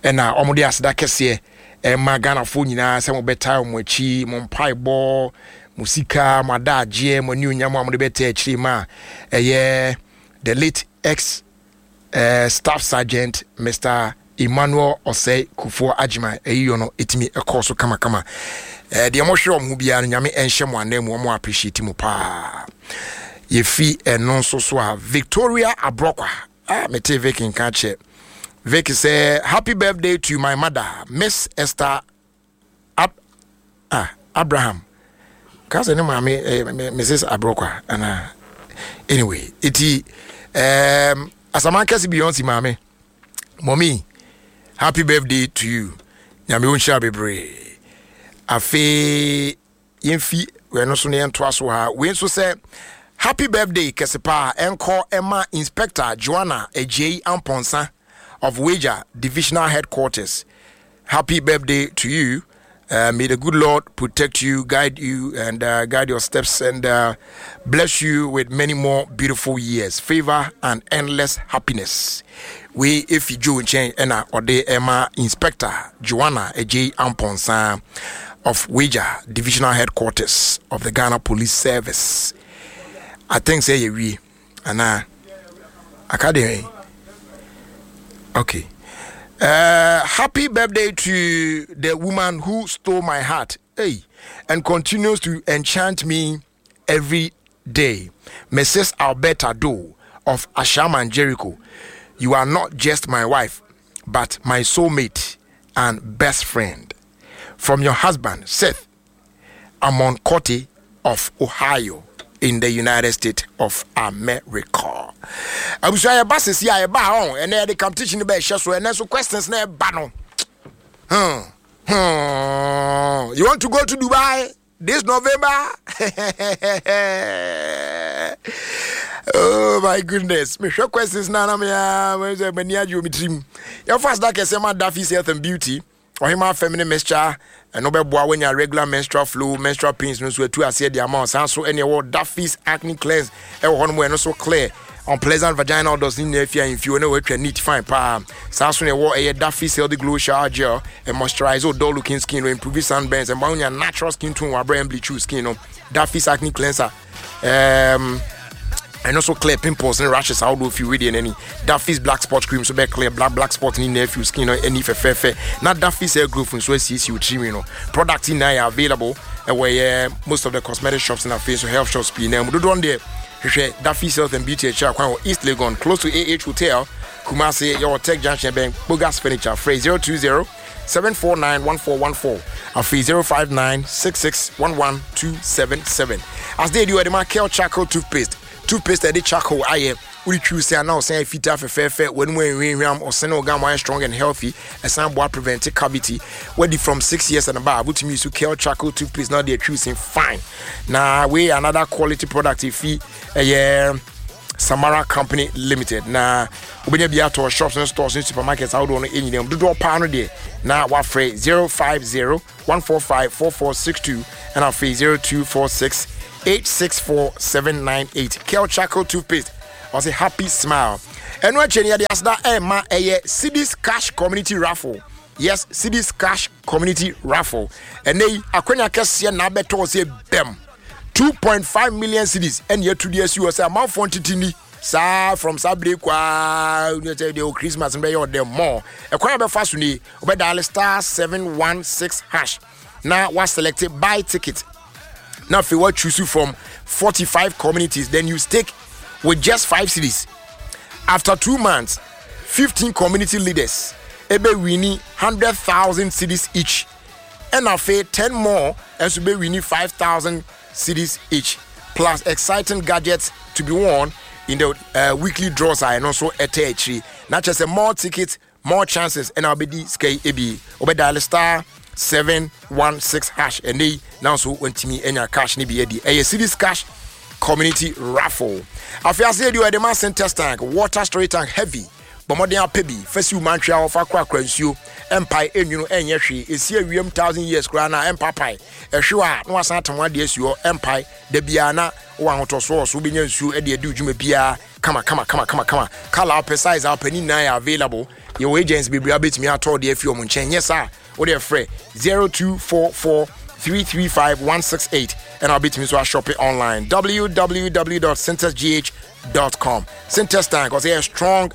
Ena omode asida kese ema Ghana fo nyina se mo beta mo achi mo mpai bo musika mo adaje mo ni onyam amode beta achi ma eye the late ex staff sergeant Mr. Emmanuel Osei Kufuor Ajimai eyiyo no etimi ekoso kama kama. De mo hwe omo bia no nyame enhye mo anam mo appreciate mo pa. Yefi eno nso so a Victoria Abrokwa. Mete Vic nka che. Vic say happy birthday to my mother Miss Esther Abraham. Ka se ne maame Mrs Abrokwa ana anyway iti asaman kese Beyonce maame. Mommy, happy birthday to you. Nyame wo nhyira bebree. Afe yemfi we no so ne ento aso ha. We nso say happy birthday kesepa enko Emma Inspector Joanna Ejei Amponsa of Wager Divisional Headquarters. Happy birthday to you. May the good Lord protect you, guide you, and guide your steps, and bless you with many more beautiful years, favor, and endless happiness. We, if you join chain, and Ode Emma Inspector Joanna Ejei Amponsa of Wager Divisional Headquarters of the Ghana Police Service. I think say we and Academy. Okay. Happy birthday to the woman who stole my heart, hey, and continues to enchant me every day, Mrs. Alberta Doe of Ashaiman Jericho. You are not just my wife, but my soulmate and best friend. From your husband, Seth Amon Kote of Ohio in the United States of America. Abusua ba sisi a ba on and the competition be hye so and so questions na ba no. You want to go to Dubai this November? Oh my goodness. Me hwe questions na na me a me ni agye mi trim. Your first that kese ma Daffy's Health and Beauty. Ohima feminine mixture and no beboa when your regular menstrual flow, menstrual pains no so etu ase de amount san so any wo Daffy's acne cleanse e wo no no so clear unpleasant vaginal odors ni na afia infio na wo neat fine pa san so ne wo e Daffy's healthy glow shower gel and moisturize all dull looking skin no improve sunburns and your natural skin tone wa brand bleach skin no Daffy's acne cleanser and also clear pimples and rashes out of you with any Daffy's black spot cream so be clear black spot in nephew skin or any fair not Daffy's hair growth and so see you trim, you know. Product in now available where most of the cosmetic shops in our face so health shops be now do on there. Hwehwɛ Daffy's Health and Beauty akyiri akwan wɔ East Legon, close to AH Hotel, Kumasi. Yɛwɔ Tech Junction bɛn Bogas Furniture. Frɛ 020 749 1414 afei 059 6611 277. Asde edi wɔde ma Kel Charcoal Toothpaste. Toothpaste a ɛde charcoal ayɛ. Wode twiw se a na ɔsan ayɛ fitaa fɛfɛɛfɛ, w'anom anhwinhwam, ɔsene wo gum ayɛ strong and healthy, ɛsan boa prevent cavity. Wadi from 6 years and above, wotumi use Kel Charcoal Toothpaste na wode atwiw se fine. Na wei yɛ another quality product efi ɛyɛ Samara Company Limited. Na wobɛnya bi atɔ shops ne stores ne supermarkets ahodoɔ no nyinaa mu. Dodoɔ paa no deɛ na wafrɛ 050 145 4462 ɛna afei 0246 864 798. Kel Charcoal Toothpaste ɔsɛ happy smile. Ɛno akyɛ no yɛde aseda ɛma ɛyɛ Cedis Cash Community Raffle. Yes, Cedis Cash Community Raffle. Ɛnɛ yi akwanya kɛseɛ na abɛtɔ sɛ bɛm 2.5 million cedis ɛne yɛatu de asi hɔ sɛ amanfoɔ ntete ni saa from saa bere kwaa sɛ deɛ Christmas no bɛyɛ ɔdɛ mɔ. Ɛkwan a bɛfa so nie, wobɛdial star 716 hash na waselect buy ticket na afei wa choose from 45 communities, then you stake with just 5 cedis. After 2 months, 15 community leaders ebe wini 100,000 cedis each, ɛna afei 10 more nso bɛ wini 5,000 cedis each, plus exciting gadgets to be won in the weekly draws a ɛno nso ɛtɛ akyiri. Na kyerɛ sɛ more tickets, more chances ɛna wobɛdi sika yi ebi. Wobɛdial *716 hash ɛnɛ yi na nso wantumi anya cash ne bi adi. Ɛyɛ Cedis Cash Community Raffle. Afei ase yɛdi ɔde ma Sintex tank, water storage tank, heavy. Bɔ mmɔden apɛ bi fa si wo mantwea hɔ, fa korakora nsuo. Ɛmpae, ɛnwunu, ɛnyɛ hwee. Ɛsi awiam 1,000 years koraa na ɛmpapae. Ɛhwew a na wasan atam adeɛ asi hɔ, ɛmpae da biara na wowɔ ahotɔsoɔ wɔ so. Wobɛnya nsuo de adi wo dwuma biara kama kama kama kama kama. Colour wopɛ, size a wopɛ ne nyinaa yɛ available. Yɛwɔ agents bebree a wobɛtumi atɔ deɛ afi wɔn nkyɛn. Nyɛ saa, wode frɛ 0244 335 168 ɛna wobɛtumi nso ashop online, www.syntexgh.com. Sintex tank, ɔsɛ ɛyɛ strong,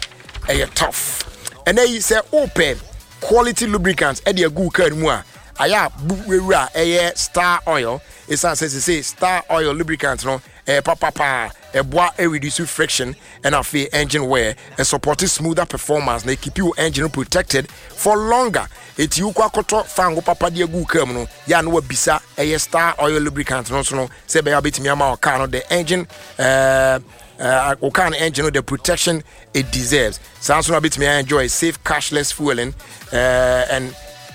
ɛyɛ tough. Ɛnɛ yi sɛ wopɛ quality lubricant ɛde agu car no mu a, ayɛ a bu wewura ɛyɛ Star Oil, ɛsiane sɛ sese Star Oil lubricant no ɛyɛ papapaa. Ɛboa ɛreduce friction ɛna afei engine wear, ɛsupport smoother performance na ɛkeep your engine protected for longer. Eti wokɔ akɔtɔ fango papa de agu car mu no yɛ a, na wabisa ɛyɛ Star Oil lubricant no nso no sɛ ɛbɛyɛ a wobɛtumi ama wo car no the engine wo car no engine no the protection it deserves. Saa nso na wobɛtumi enjoy safe cashless fueling and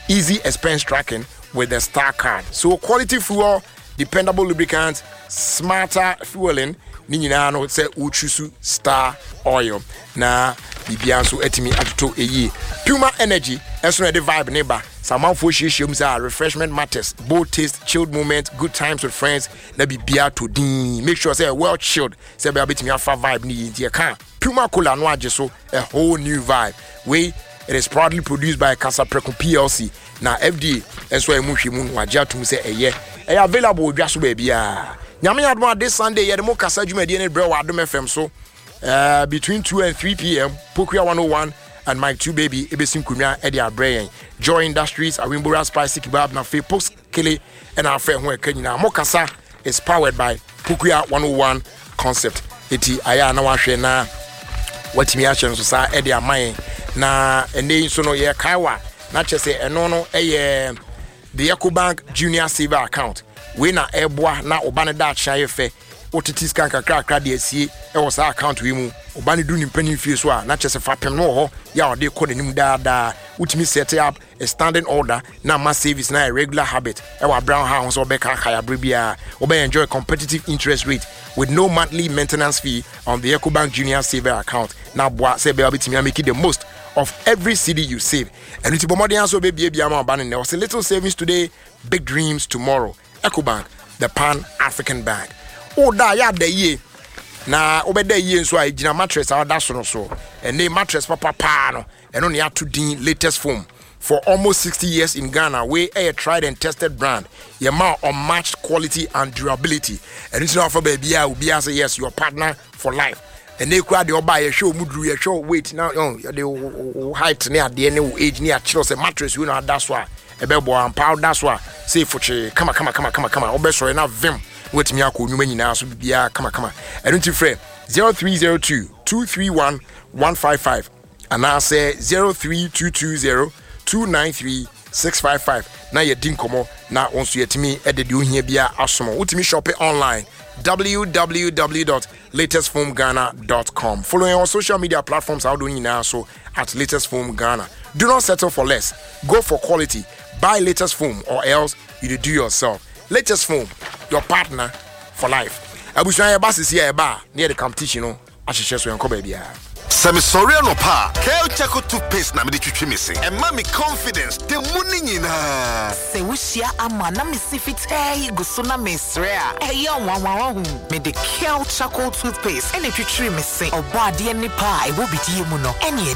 easy expense tracking with the Star Card. So quality fuel, dependable lubricant, smarter fueling ne nyinaa no sɛ wotwi Star Oil na biribiara nso atumi atoto ɛyie. Puma Energy ɛso na ɛde vibe ne ba sɛ amanfoɔ hyiahyia mu sɛ refreshment matters, bold taste, chilled moment, good times with friends na biribiara to din. Make sure sɛ well chilled sɛ ɛbɛyɛ wobɛtumi afa vibe no yie. Nti yɛka Puma Cola no agye so a whole new vibe. Wei, it is proudly produced by Kasapreko PLC na FDA nso a ɛmu hwɛ mu no wagye atom sɛ ɛyɛ available wɔ dwa so baabiara. Nyame adom a, this Sunday yɛde mo kasa dwumadie no brɛ wɔ Adom FM so between 2 and 3 p.m. Pokua 101 and Mike 2 Baby ebesi nkonnwa de abrɛ yɛn. Joy Industries, Awimbora Spicy Kebab na afei Post Kele ɛna afɛ ho ɛka nyinaa. Mo kasa is powered by Pokua 101 Concept. Eti ayɛ a na wahwɛ na watumi ahyɛ nso saa ɛde ama yɛn. Na ɛnɛ yi nso no yɛkae wa na kyerɛ sɛ ɛno no ɛyɛ the Ecobank Junior Saver Account. Wei na ɛboa na ɔba no daakye ayɛ fɛ. Wotete sika nkakrakra de asie ɛwɔ saa account wei mu, ɔba no du ne mpanin fie so a, na kyerɛ sɛ fapem no wɔ hɔ yɛ a ɔde kɔ n'anim daadaa. Wotumi set up a standing order na ama savings na a regular habit ɛwɔ abira ha ho sɛ ɔbɛka abere biara. Wobɛ enjoy competitive interest rate with no monthly maintenance fee on the Ecobank Junior Saver Account na aboa sɛ ɛbɛyɛ wobɛtumi amake the most of every cedi you save. Ɛno nti bɔ mmɔden aso wobɛbiebia ma ɔba no nnɛ. Ɔsɛ little savings today, big dreams tomorrow. Ecobank, the Pan African bank. Woda a yɛ ada yie na wobɛda yie nso a ɛgyina mattress a woda so no so. Ɛne mattress papa paa no, ɛno ne ato din Latest Foam. For almost 60 years in Ghana, wei ɛyɛ tried and tested brand. Yɛma unmatched quality and durability. Ɛno nti na wafa baabi a obiara sɛ yes, your partner for life. Ɛnɛ kura deɛ ɔba, yɛhwɛ ɔmu duru, yɛhwɛ weight na yɛde wo height ne adeɛ ne wo age ne akyerɛw sɛ mattress wei na ada so a ɛbɛboa ampa. Woda so a sɛ fokyee kama kama kama kama kama, wobɛsɔre na vim. Na watumi akɔ nnwuma nyinaa so biribiara kamakama. Ɛno nti frɛ 0302 231 155 anaasɛ 03220 293 655 na yɛdi nkɔmmɔ na wo nso yɛtumi de deɛ ohia biara asom. Wotumi shoppe online www.latestfoamghana.com. Follow yɛn on social media platforms ahodoɔ nyinaa so at latest foam Ghana. Do not settle for less. Go for quality. Buy latest foam or else you dey do yourself. Latest foam, your partner for life. Abusua yɛba sisi a yɛba a na yɛde competition no ahyehyɛ so yɛnkɔ baabiara. Sɛ mesɔre anɔpa a, Kel Charcoal Toothpaste na mede twitwi me se. Ɛma me confidence da mu no nyinaa. Sɛ wohyia ama na me se fitaa yi gu so na meresrɛ a, ɛyɛ nwanwa wahu. Mede Kel Charcoal Toothpaste na ɛtwitwiri me se. Ɔbɔadeɛ nnepa a ɛwɔ bidie mu no, ɛne.